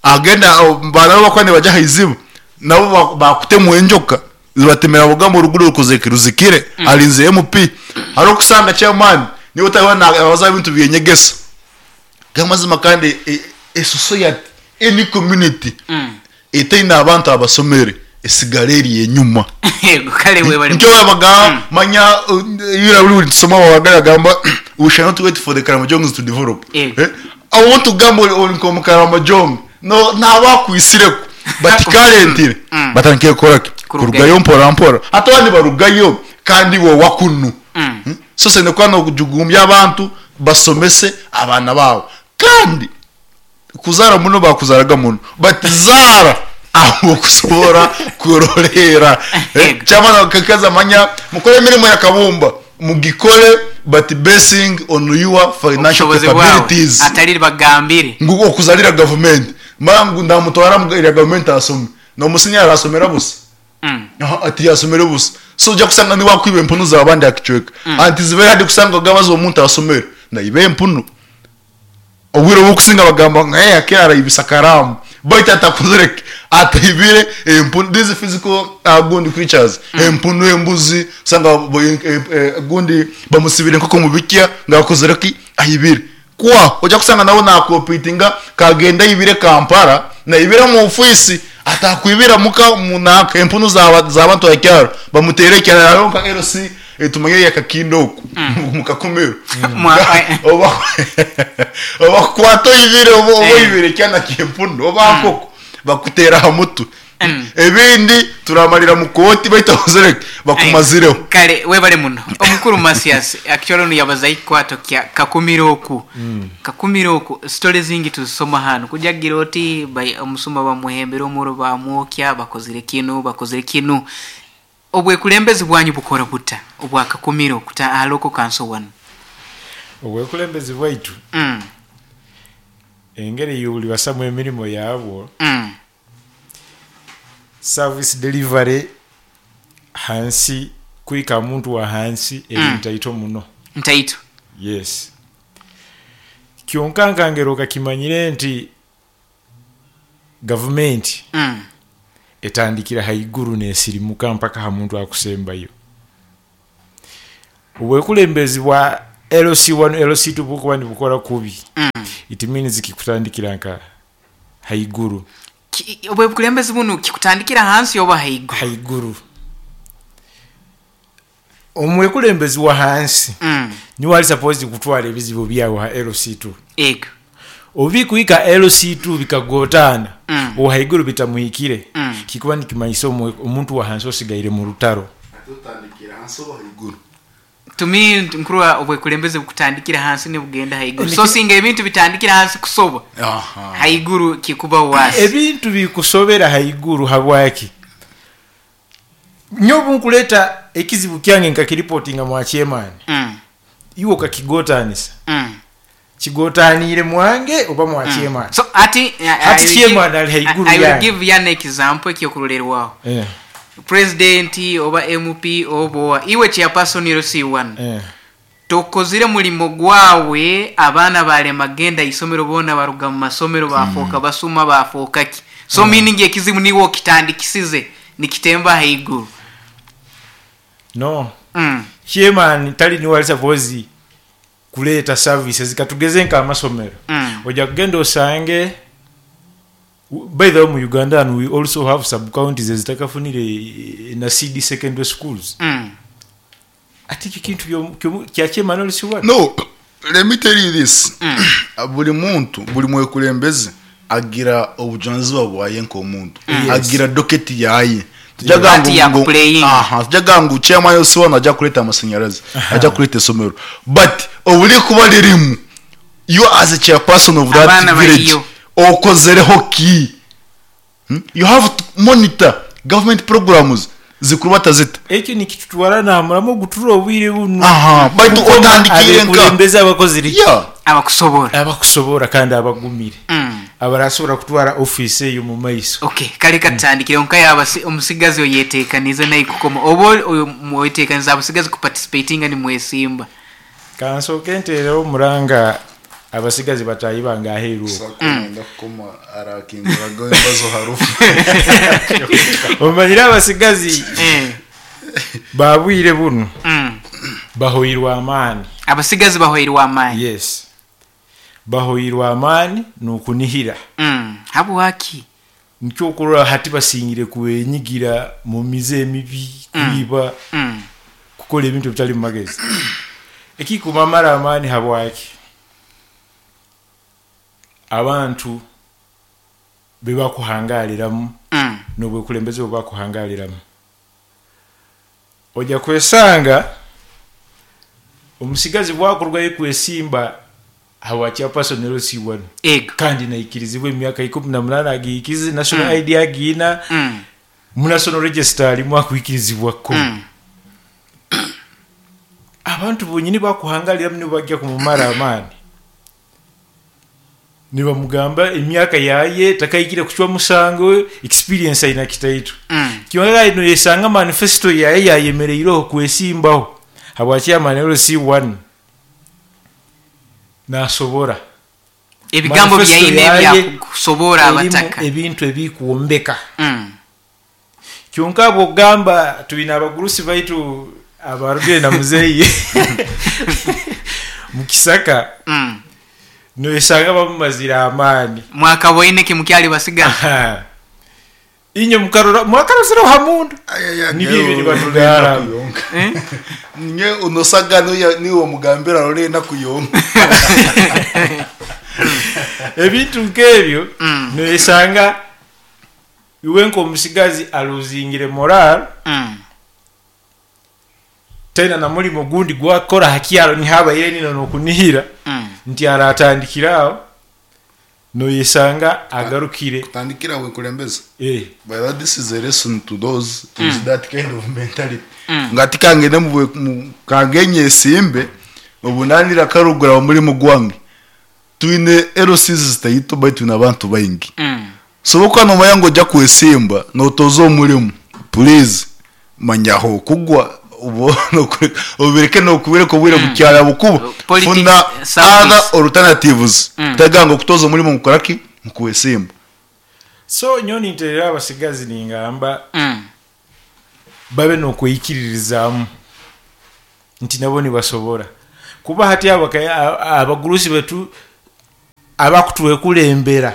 agenda baana abu bakuba nibagya aha iziba nabo bakutemwa enjoka zibatemera nibagamba oruguudo rukozire ki ruzikire arinzire MP hariho okusanga chairman niwe otariho nabaza aha bintu by'enyegesa gamazima kandi e society any community etaine abantu abasomere esigara eri enyuma. Yego, kale webale. Nikyo babaga manya ira buri tusoma babaga bagamba we shall not wait for the Karamojongs to develop. I want to gamba ori nko Karamojong no nabakwisireko but currently batandikire kukora ki? Kurugayo mpora mpora. Hati abandi barugayo kandi iwe wakunu. So sende kuba nojugumbya abantu basomese abaana baabo kandi Kuzaara muno bakuzaaraga muno but zaara ahu okusobora kuroreera. Kyamara akakazi amanya mukore emirimo ya kabumba mugikore but basing on your financial Obushobozi bwawe capabilities. atari bagambire. Ngu okuzarira gavumenti mara ngu ndamutwara erya gavumenti asome nomusinya arasomera busa. Aha tiyasomere busa so oja kusanga niwe akwiba empunu zabandi aha kicweka anti zibe hard kusanga ogabaza omuntu asomere naiba empunu. Obwire obukusinga bagamba ngu hey akira arayibisa karamu baitu atakozire ki ataibire empunu these physical gundi creatures empunu embuzi osanga gundi bamusibire enkoko omu bikya ngu akozire ki aibire kwa oja kusanga nawe nakompitinga kagenda aibire Kampala naibira omu ofiisi atakwibira muka munanka empunu zabantu aha kyaro bamuteire ekyaro hariho nka LC tumanyire eya Kakinda oku omu Kakumiro oba bakukwata oibire oba oibire ekyana ky'empunu oba nkoko bakuteera aha mutwe ebindi turamarira mu kooti baitu ozire bakumazireho. Kare webare muno omukuru Mathias actually onu yabaza ekikwato kya Kakumiro oku Kakumiro oku story zingi tuzisoma hanu kuja agira oti omusuma bamuhembire omuro bamwokya bakozire kinu bakozire kinu Obwekulembezi bwanyu bukora buta obwa Kakumiro kuta aha Local Council wanu? Obwekulembezi bwaitu engeri yobulibasamu emirimo yabwo, service delivery hansi kuhika ahamuntu wahansi eri ntaito muno. Ntaito. Yes. Kyonka nkangera okakimanyire nti gavumenti etandikira haiguru nesirimuka mpaka aha muntu akusembayo. Obwekulembezi bwa LC1 LC2 bukuba nibukora kubi, it means kikutandikira nka haiguru. Obwekulembezi bunu kikutandikira hansi oba haiguru? Haiguru. Omwekulembezi wa hansi niwe ali supposed kutwara ebizibu byawe ha LC2. Ego. Obu bikuhika LC2 bikagotaana, owa haiguru bitamuhikire, kikuba nikimanyisa omuntu wa hansi osigaire mu rutaro. Ate otandikira hansi oba haiguru? To me nkurora obwekulembezi bukutandikira hansi nibugenda haiguru. So singa ebintu bitandikira hansi kusoba, haiguru kikuba worse. Ebintu bikusobera haiguru habwaki? Nyowe obunkuleeta ekizibu kyange nkakiripotinga mwa chairman, iwe okakigotaanisa, kigotaaniire mwange oba mwa chairman? So hati, Hati chairman ali haiguru I will yange. give you an example ekyokurolerwaho. President oba MP oba owa, iwe chairperson LC1. Tokozire mulimo gwawe, abaana barema genda isomero boona baruga mu masomero bafooka basuma bafooka ki. So meaning ekizibu niiwe okitandikisize nikitemba ahaiguru. No. Chairman tali niwe ali supposed kuleeta services katugeze nka amasomero. Oja kugenda osange, by the way mu Uganda hanu we also have sub counties ezitakafunire na CD secondary schools. Ati ekyo kintu kya chairman oli si wano? No, let me tell you this. Buri muntu, buri mwekulembeze agira obujunanizibwa bwaye nk'omuntu. Agira docket yaye. Party ya kuplaying. Tujaga ngu chairman yose wano ajja kuleta amasanyarazi, ajja kuleta esomero. But oburi kuba ririmu, you as a chairperson of that Abaana village, bariyo. okozereho ki? You have to monitor government programs zikurubata zita. Ekyo nikitutwara namuramu ogutura obwire bunu. Baitu Kukoma otandikire nka. abekulembeze abakozire ki? Abakusobora. Abakusobora kandi abagumire. Abarasobora kutwara office eyo mu maiso. Okay, kale katutandikire nka yaba omusigazi oyetekanize naye kukoma. Oba oyo mwetekanize abasigazi kuparticipatinga ni mwesimba. Kansooke nteereho omuranga abasigazi bataahi bange aheeru okwo. Sako nenda kukoma arakinguraga embazo harufu. Omanyire abasigazi babwire bunu bahoirwe amaani. Abasigazi bahoirwe amaani. Yes. Bahoirwe amaani n'okunihira. Habwaki? Nikyo okurora hati basingire kwenyigira mu mize emibi, kwiba, kukora ebintu ebitali mu magezi. Ekikumamara amaani habwaki? Abantu bebakuhangaliramu n'obwekulembeze bwebakuhangaliramu. Oja kwesanga omusigazi bwakurugayo kwesimba habwa chairperson LC1. Kandi naikirizibwa emyaka ikumi na munana agiikize, national ID agiina, mu national register alimu akwikirizibwa ko. Abantu bonyini bakuhangaliramu nibo bajja kumumara amaani. Nibamugamba emyaka yaye takaikire kuchwa musango, experience aina kitaitu. Kyonka ino yesanga manifesto yaye yayemereireho kwesimbaho habwa chairman LC1. Nasobora. Ebigambo Manifesto byaine yaye bya kusobora erimu abataka. ebintu ebikuwombeka. Kyonka bwogamba tulina abagurusi baitu abarugire na muzeeyi mu Kisaka. Noyesanga bamumazire amaani. Mwakaboine ki mukyali basigazi? Inye mukarora mwakarozera hamundu. Nibyo Ngewe ibyo batugara. urenda kuyonka. Nye unosaga niwo mugambira rurenda kuyonka. Ebintu nk'ebyo, noyesanga iwe nk'omusigazi aluzingire moral. Tena na mulimo gundi gwakora hakyalo nihabaire nino nokunihira. Nti aratandikiraho noyesanga agarukire. Kutandikira we kulembeza. By that this is a lesson to those with that kind of mentality. Ngati kangende mu kangenye simbe obunanira karugura muri mugwange. Twine LCs zitayito baitu n'abantu baingi. So boko no mayango ja kwesimba notozo omurimu. Please manyaho kugwa Obireke nokubireka obwire bukyari ahabwokuba Politics, funa service. other alternatives kutagamba ngu okutoza omurimo ngu koraki ngu kwesimba. So nyowe ninterera abasigazi ningamba babe n'okweyikiririzaamu nti nabo nibasobora kuba hati abagurusi betu abakutwekulembera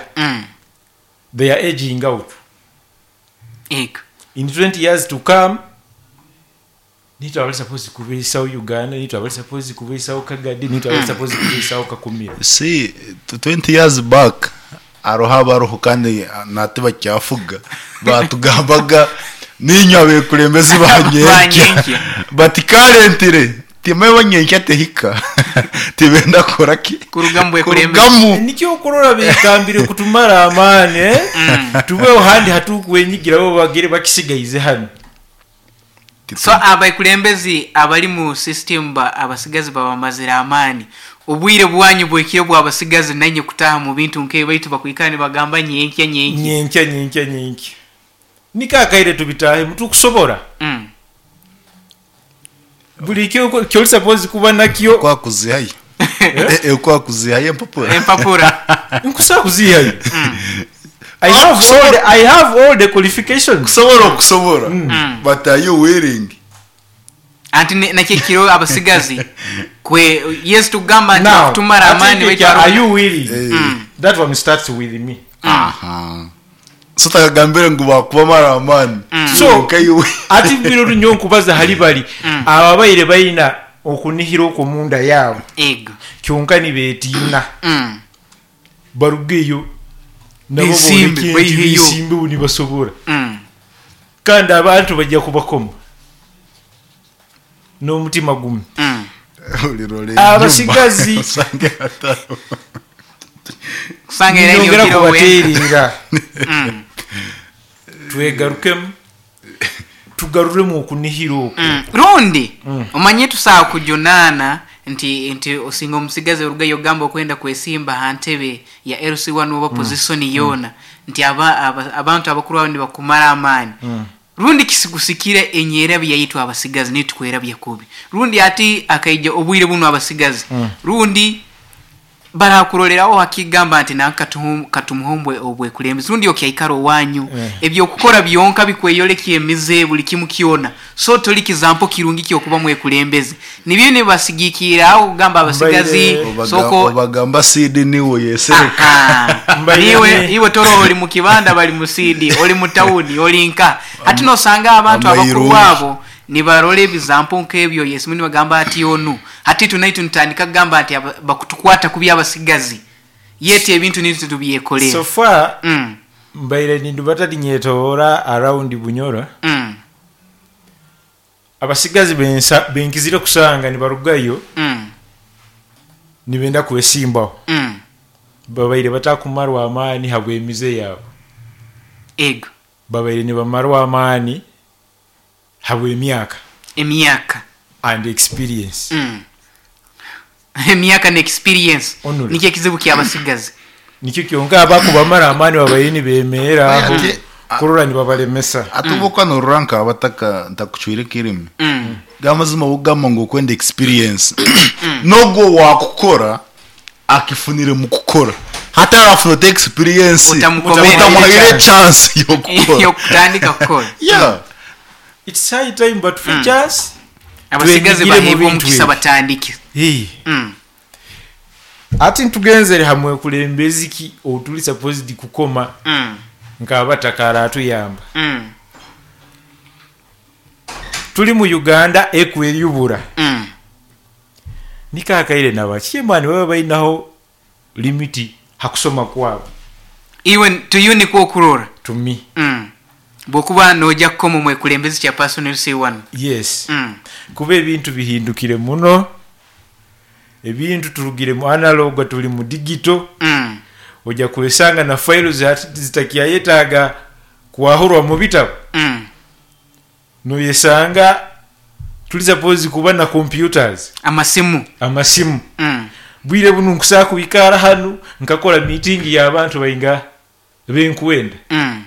they are aging out. Ego. In 20 years to come nitwe abali supposed kubeisaho Uganda, nitwe abali supposed kubeisaho Kagadi, nitwe abali supposed kubeisaho Kakumiro. See, 20 years back hariho abariho kandi nati bakyafuga batugambaga niinywe abekulembezi ba nyenkya Banyenkya. but currently timwe banyenkya tehika tibenda kukora ki? Kuruga mu bwekulembezi. Kurugamu. Nikyo okurora bekambire kutumara amaani, eh? Tubeho handi hatukwenyigira bo bagire bakisigaize hanu. So abekulembezi abali mu system ba abasigazi babamazire amaani. Obwire bwanyu bwekiro bw'abasigazi nanye kutaha mu bintu nk'ebyo baitu bakwikara nibagamba nyenkya nyenkya. Nyenkya nyenkya nyenkya. Niko akaire tubitahemu tukusobora. Buli kyoli supposed kuba nakyo. Kwakuzihayo. Kwakuzihayo empapura. Empapura. Nkusobola kuzihayo. I have all the qualifications. Kusobora okusobora. But are you willing? Anti nakyo kiro abasigazi kwe yes tugamba nti Now, kutumara I amaani think baitu are you willing? That one starts with me. So takagambire ngu bakubamara amaani. So, Okay, you ati bino runyo nkubaza hali bali ababaire balina okunihira okwo munda yaabo Ego. kyonka nibetiina. Barugeyo nabo Besimbe, booleke nti baiheyo. besimbe bo nibasobora. Kandi abantu bajja kubakoma n'omutima gumu. Abasigazi. Osange hataro. Kusanga era Nyongera yogera owenka. kubateerera. Twegarukemu tugaruremu okunihira okwo. Rundi omanye tusaaba kujunaana nti osinga omusigazi orugayo ogamba okwenda kwesimba ha ntebe ya LC1 oba position yoona nti abantu abakuru abo nibakumara amaani. Rundi kisigusikire enyerabya yaitu abasigazi nitukwerabya kubi. Rundi ati akaija obwire buno abasigazi. Rundi barakuroleraho hakigamba nti nanka katumuhombwe obwekulembezi. Rundi okyaikara owanyu. Ebyokukora byonka bikweyolekya emize buli kimu kyona. So toli kizampo kirungi kyokuba mwekulembezi. Nibyo nibasigikira aho kugamba abasigazi, soko Obagamba seed niwe yesereka. Aha. Mbaire Niwe, iwe toro oli mu kibanda bali mu seed, oli mu town, oli nka. Hati nosanga abantu abakuru Amairungi. abo nibarora ebizampo nk'ebyo Yesu nibagamba ati onu. Hati tunaitu nitandika kugamba nti bakutukwata kubi abasigazi. Yete ebintu nitu tubyekolera. So far, mbaire nindubata linyetoora around Bunyoro. Abasigazi benkizire kusanga nibarugayo. Nibenda kwesimbaho. Babaire batakumarwa amaani habw'emize yaabo. Ego. Babaire nibamarwa amaani habw'emyaka. Emyaka. And experience. Emyaka ne experience. Onule. Nikyo ekizibu ky'abasigazi. Nikyo kyonka abakubamara amaani babaire nibemeera aho. Ate, Kurora nibabalemesa. Ate obuka noruranka abataka ntakucwire kirimi. Gamazima bugamba ngu okwenda experience. Nogwo wakukora akifunire mu kukora. Hata arafuna te experience. Utamukomera. Utamuhaire chance yokukora. Yokutandika kukora. Yeah. It's high time but for chance. Abasigazi Twengire mu baheebwa bintu omukisa ebyo. batandike. Hey. Ati ntugenzere hamwe kulembezi ki otuli supposed kukoma nk'abatakara atuyamba. Tuli mu Uganda ekweyubura. Nikakaire nabakimani baba balinaho limiti hakusoma kwabo. Iwe tuyu nikwo okurora. To me. Bwokuba nojja kukoma mwekulembezi kya personal C1. Yes. Kuba ebintu bihindukire muno. Ebintu turugire mu analog tuli mu digital. Ojja kwesanga na files zitakyayetaaga kwahurwa mu bitabo. Noyesanga tuli supposed kuba na computers. Amasimu. Amasimu. Bwire buno nkusaa kuikara hanu nkakora meeting y'abantu bainga benkwenda.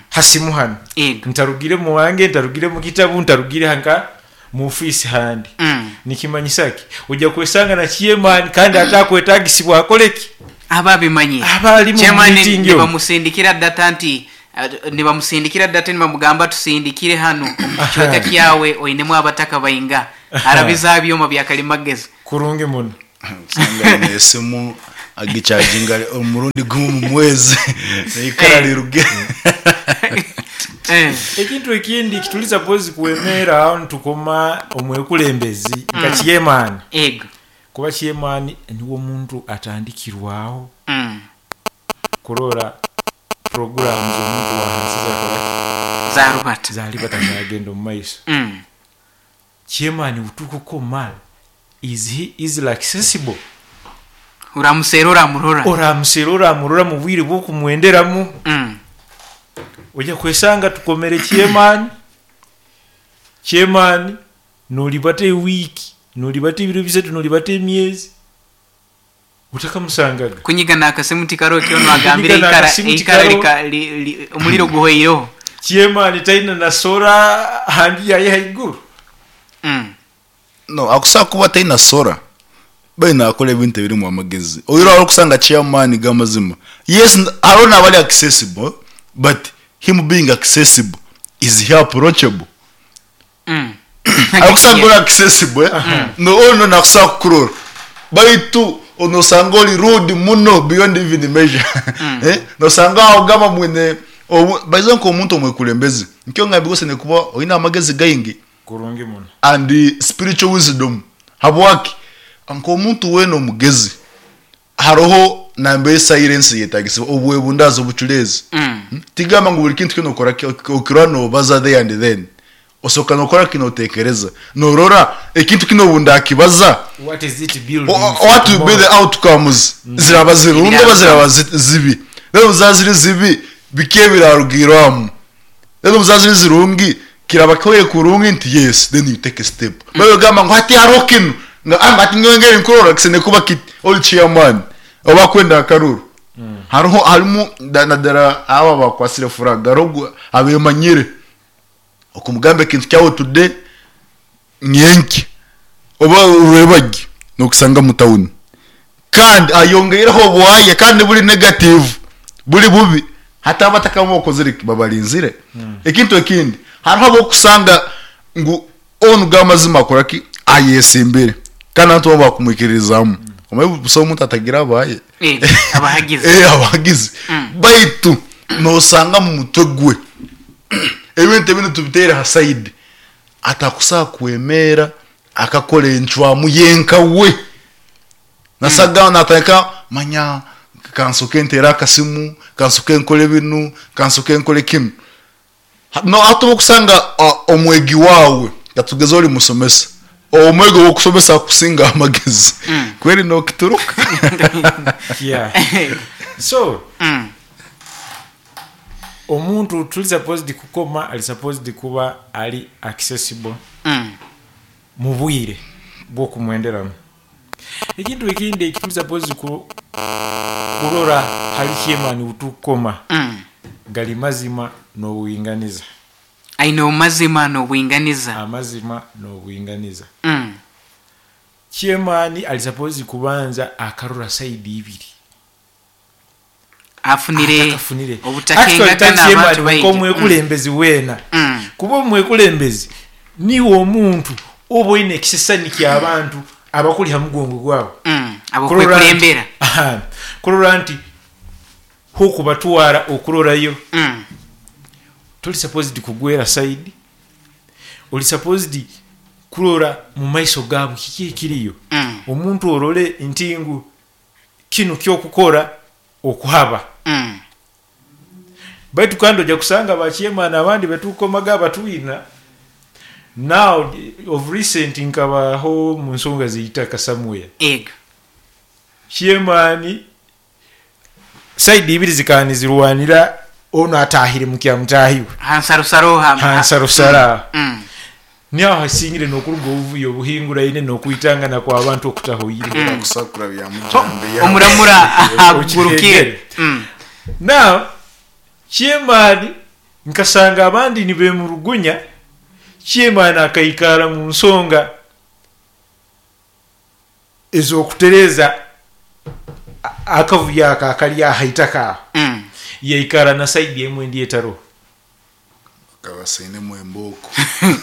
Hasimu hano. Ego. Ntarugire mu wange, ntarugire mu kitabu, ntarugire hanka Mu ofiisi handi. Mm. Nikimanyisa ki? Oija kwesanga na chairman kandi atakwetagisibwa akole ki? Aba abimanyire. Aba ali mu Chairman meeting omwo. nibamusindikira data nti nibamusindikira data nibamugamba tusindikire hanu omu kicweka kyawe oinemu abataka bainga. Arabiza aha byoma bya kalimagezi. Kurungi muno. Osanga aine esimu agichaginga omurundi gumwe omu mwezi neikara riruge. Ekintu ekindi ekituri suppose kwemeera aho nitukoma omwekulembezi nka chairman. Ego. Kuba chairman niwe omuntu atandikirwaho kurora programs omuntu wahansi zakoraki? Zarubata. Zaribata zagenda omu maiso. Chairman wutukukoma is he easily accessible? Oramuseera oramurora. Oramuseera oramurora mu bwire bw'okumwenderamu. Oija kwesanga tukomere chairman, chairman nolibata ewiiki, nolibata ebiro bisatu, nolibata emyezi otakamusangaga. Kunyiga n'akasimu tikaroho kyona agambire Kunyiga eikara n'akasimu eikara tikaroho. lika li, li, omuliro guhweireho. Chairman taine na sora aha nju yaye haiguru. No, akusobola kuba taine sora baitu nakora ebintu ebirimu amagezi. Oihireho hariho okusanga chairman g'amazima. Yes, hariho nabari accessible but him being accessible is he approachable? Arikusanga ori accessible eh? No, onu nakusobola kukurora baitu nosanga ori rude muno beyond even measure. Eh? Nosanga aho gamba mwine obu, baize nk'omuntu omwekulembezi nkyo ngambire osene kuba oine amagezi gaingi. Kurungi muno. And spiritual wisdom. Habwaki? Nk'omuntu weena omugezi hariho nambere silence yetagisibwa, obwebundaazi, obuculeezi. Tigamba ngu buri kintu kyona okora okirora nobaza there and then. Osooka nokora ki notekereza. Norora ekintu kinu obu ndakibaza, What is it building for what will be the tomorrow? outcomes? Ziraba zirungi oba ziraba zibi? Then obu zaba ziri zibi, biki ebirarugirwamu? Then obu zaba ziri zirungi, kiraba kihoire kurungi nti yes, then you take a step. Baitu ogamba ngu hati hariho kinu, nga hati nyowe ngeri nkurora kisene kuba kiti, ori chairman, oba akwenda akaruru. Hariho, harimu, nadara aba bakwasire flag, hariho abemanyire. Okumugamba ekintu kyawe today, nyenki, oba orebagi, nokusanga mu town. Kandi ayongeireho obwaye, kandi buri negative, buri bubi. Hati abataka bokozire ki, babarinzire. Ekintu ekindi, hariho abokusanga ngu onu g'amazima akora ki, ayesimbire. Kandi abantu baba bakumwikirizamu. Omanyi busaho omuntu atagira abaye. Abahagizi. Abahagizi. Baitu nosanga mu mutwe gwe ebintu ebindi tubiteere ha side, atakusobola kwemera akakora encwamu yenka we. Nasaga natandika manya kansoke ntere akasimu, kansoke nkore binu, kansoke nkore kinu. No hati okusanga omwegi wawe katugeze ori musomesa, omwegi wokusomesa akusinga amagezi. Kweri nokituruka. Yeah. So, omuntu tuli supposed kukoma, ali supposed kuba ali accessible mu bwire bw'okumwenderamu. Ekintu ekindi eki tuli supposed kurora hali chairman utukoma gali mazima n'obwinganiza. Aine amazima n'obwinganiza. Amazima n'obwinganiza. Chairman ali supposed kubanza akarora side ibiri. Afunire Atakafunire. obutakengakana Actually, ta chairman abantu baingi. nk'omwekulembezi weena. Kuba omwekulembezi niwe omuntu oba oine ekisesani ky'abantu abakuli ha mugongo gwawe. Abokwekulembera. Aha. Kurora nti hukubatwara okurorayo. Toli supposed kugwera side. Oli supposed kurora mu maiso gaabo kiki ekiriyo. Omuntu orole nti ngu kinu kyokukora okuhaba. Baitu kandi ojja kusanga ba chairman abandi betukomaga abatwina. Now of recent nkabaho mu nsonga z'eitaka somewhere. Ego. Chairman side ibiri zikanizirwanira ono atahire mu kya mutahiwe. Hansarusaro ha. Hansarusaro. Niho hasingire nokuruga obuvuyo obuhinguraine n'okwitangana kw'abantu okutahoire. Akusakura bya mujambe ya. Omuramura agurukire. Now chairman nkasanga abandi nibemurugunya. Chairman akaikara mu nsonga ez'okutereeza akavuyo ako akali aha itaka aho. Yaikara na side emwe endi etaroho. Akaba asainemu embooko.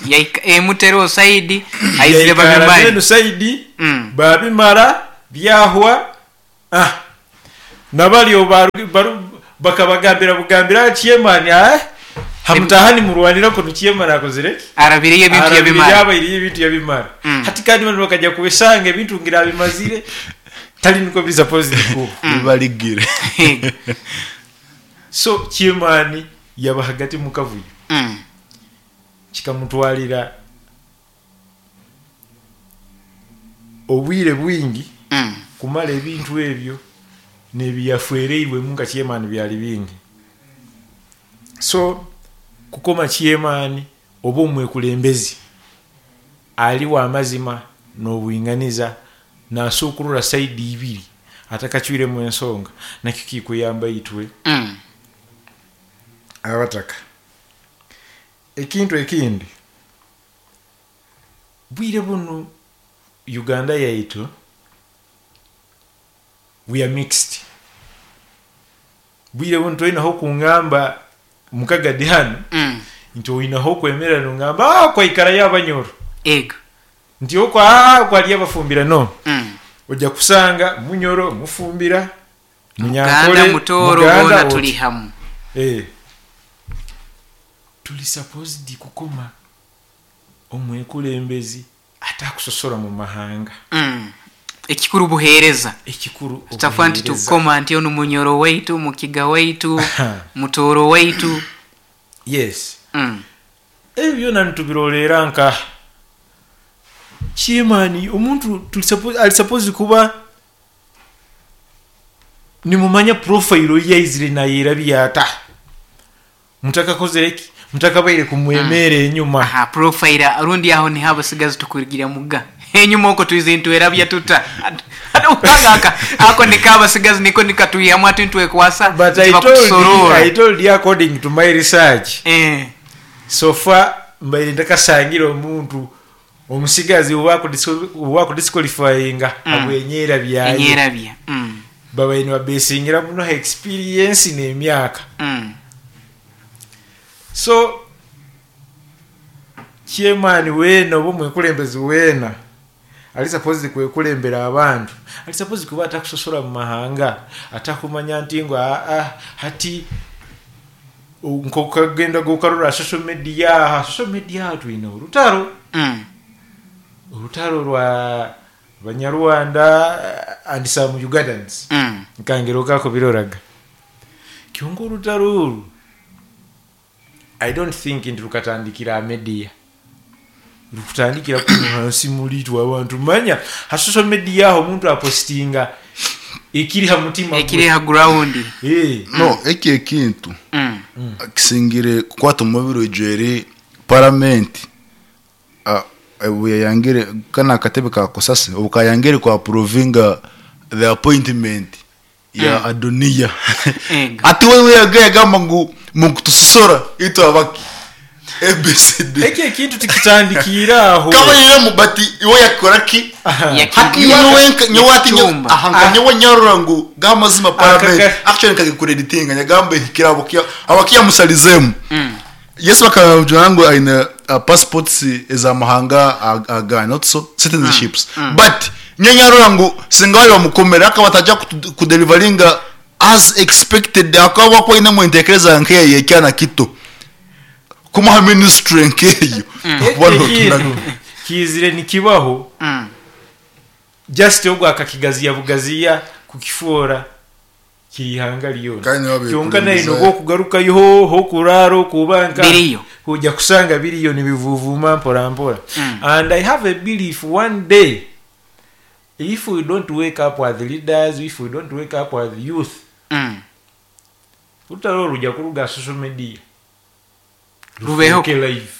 Yaika emu teroho side, aizire Yaikara babimare. n'enu side babimara byahwa. Ah, nabari obu baru, bakabagambira bugambira aha chairman, ah, hamutaaha nimurwanira kunu chairman akozire ki? Arabireyo ebintu Arabire yabimara. yabaireyo ebintu yabimara. Hati kandi banu bakaja kwesanga ebintu ngira abimazire, tali nikwo biri supposed kuba. Bibarigire. So chairman yaba hagati mu kavuyo. Kikamutwarira obwire bwingi kumara ebintu ebyo n'ebiyafwereirwemu nka chairman byali bingi. So kukoma chairman oba omwekulembezi ali w'amazima n'obwinganiza nasuukurura side ibiri atakacwiremu ensonga, nakyo kikuyamba itwe abataka. Ekintu ekindi, bwire bunu Uganda yaitu we are mixed. Bwire bunu toinaho kungamba mukagadi hanu nti oinaho okwemerera nongamba kwaikarayo abanyoro. Ego. Nti okwo kwali abafumbira no. Ojja kusanga munyoro, mufumbira, Muganda, munyankole, Mutooro, Muganda, boona oti. turi hamwe. Tuli supposed kukoma omwekulembezi atakusosora mu mahanga. Ekikuru buheereza. Ekikuru Tutafa nti obuheereza. tukoma nti onu munyoro waitu, mukiga waitu, mutooro waitu. Yes. Ebyo byona nitubirorera nka chairman omuntu tuli ali supposed kuba nimumanya profile yaizire nayerabya ata. Mutakakozere ki? Mutakabaire kumwemere enyuma. Aha, profile rundi aho ni habo sigazi tukurugira muga. Enyuma oko tuizintu erabya tuta. Aka, ako nikaba sigazi niko nikatuyamu ati ntwekwasa. But Ntiba kutusorora. I told you according to my research. So far mbaire ndakasangira omuntu omusigazi owa kudisqualifyinga abwenyera byaye. Enyera bya. Babaire nibabesingira muno experience n'emyaka. So chairman weena oba omwekulembezi weena ali supposed kwekulembera abantu, ali supposed kuba atakusosora mu mahanga, atakumanya nti ngu hati nkokagenda gokarora social media, social media twine orutaro. Orutaro rwa Banyarwanda and some Ugandans. Nkangero kako biroraga. Kyonka orutaro oru I don't think nti rukatandikira media. Rukutandikira ku hansi muri twa abantu manya ha social media aho omuntu apostinga ekiri ha mutima gwe. Ekiri ha ground. No, eki ekintu. Kisingire kukwata omubiri ojwere parliament. Obu yayangire kana akatebe ka Kusasi, obu kayangire kwa approvinga the appointment ya Adonia. Ego. Ati wewe yagamba ngu mukutusosora itwe abaki. ABCD. Eki ekintu tikitandikira aho. Kaba yeye bati iwe yakora ki? Hati nyowe nka, nyowe ati nyowe, Yakichumba. aha, nka nyowe nyarura ngu gamazima parliament. Actually nkagikuredinga nyagambe hikira abakia, abakia musalizemu. Yesu bakabajura ngu aine passports eza mahanga aga not so citizenships. But nyowe nyarura ngu singayo bamukomera akaba ataja kudeliveringa as expected, akaba kwa ine mwentekereza nkeye yekyana kito. Kumuha ministry nkeyo. Kuba Eki notuna- ekintu kizire nikibaho. Just ogwo akakigaziya bugaziya kukifuora kihanga lyona. Kandi nibo Kyonka naye bekulembeza. noba okugarukayo ho okuraara okuba nka Biriyo. Ojja kusanga biriyo nibivuvuma mpora mpora. And I have a belief one day if we don't wake up as leaders, if we don't wake up as youth, Olutalo olwo lujja kuruga social media. Rubeho. Rufuuke live.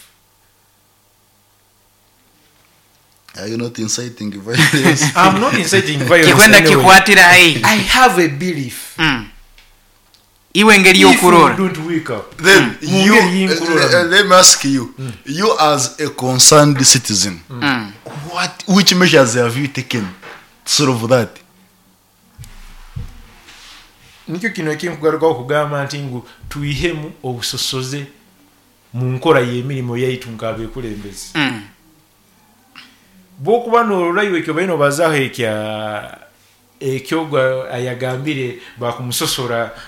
Are you not inciting violence? I'm not inciting violence. Kikwenda anyway. kikwatira haihi. I have a belief. Iwe engeri If we y'okurora. don't wake up. Then you, Mungeri y'inkurora. let me ask you, you as a concerned citizen, which measures have you taken to solve that? Nikyo kino ekinkugarukaho kugamba nti ngu twihemu obusosoze mu nkora y'emirimu yaitu nk'abekulembeze. Bwokuba norora iwe ekyo baine obazaaho ekya ekyogwa ayagambire bakumusosora.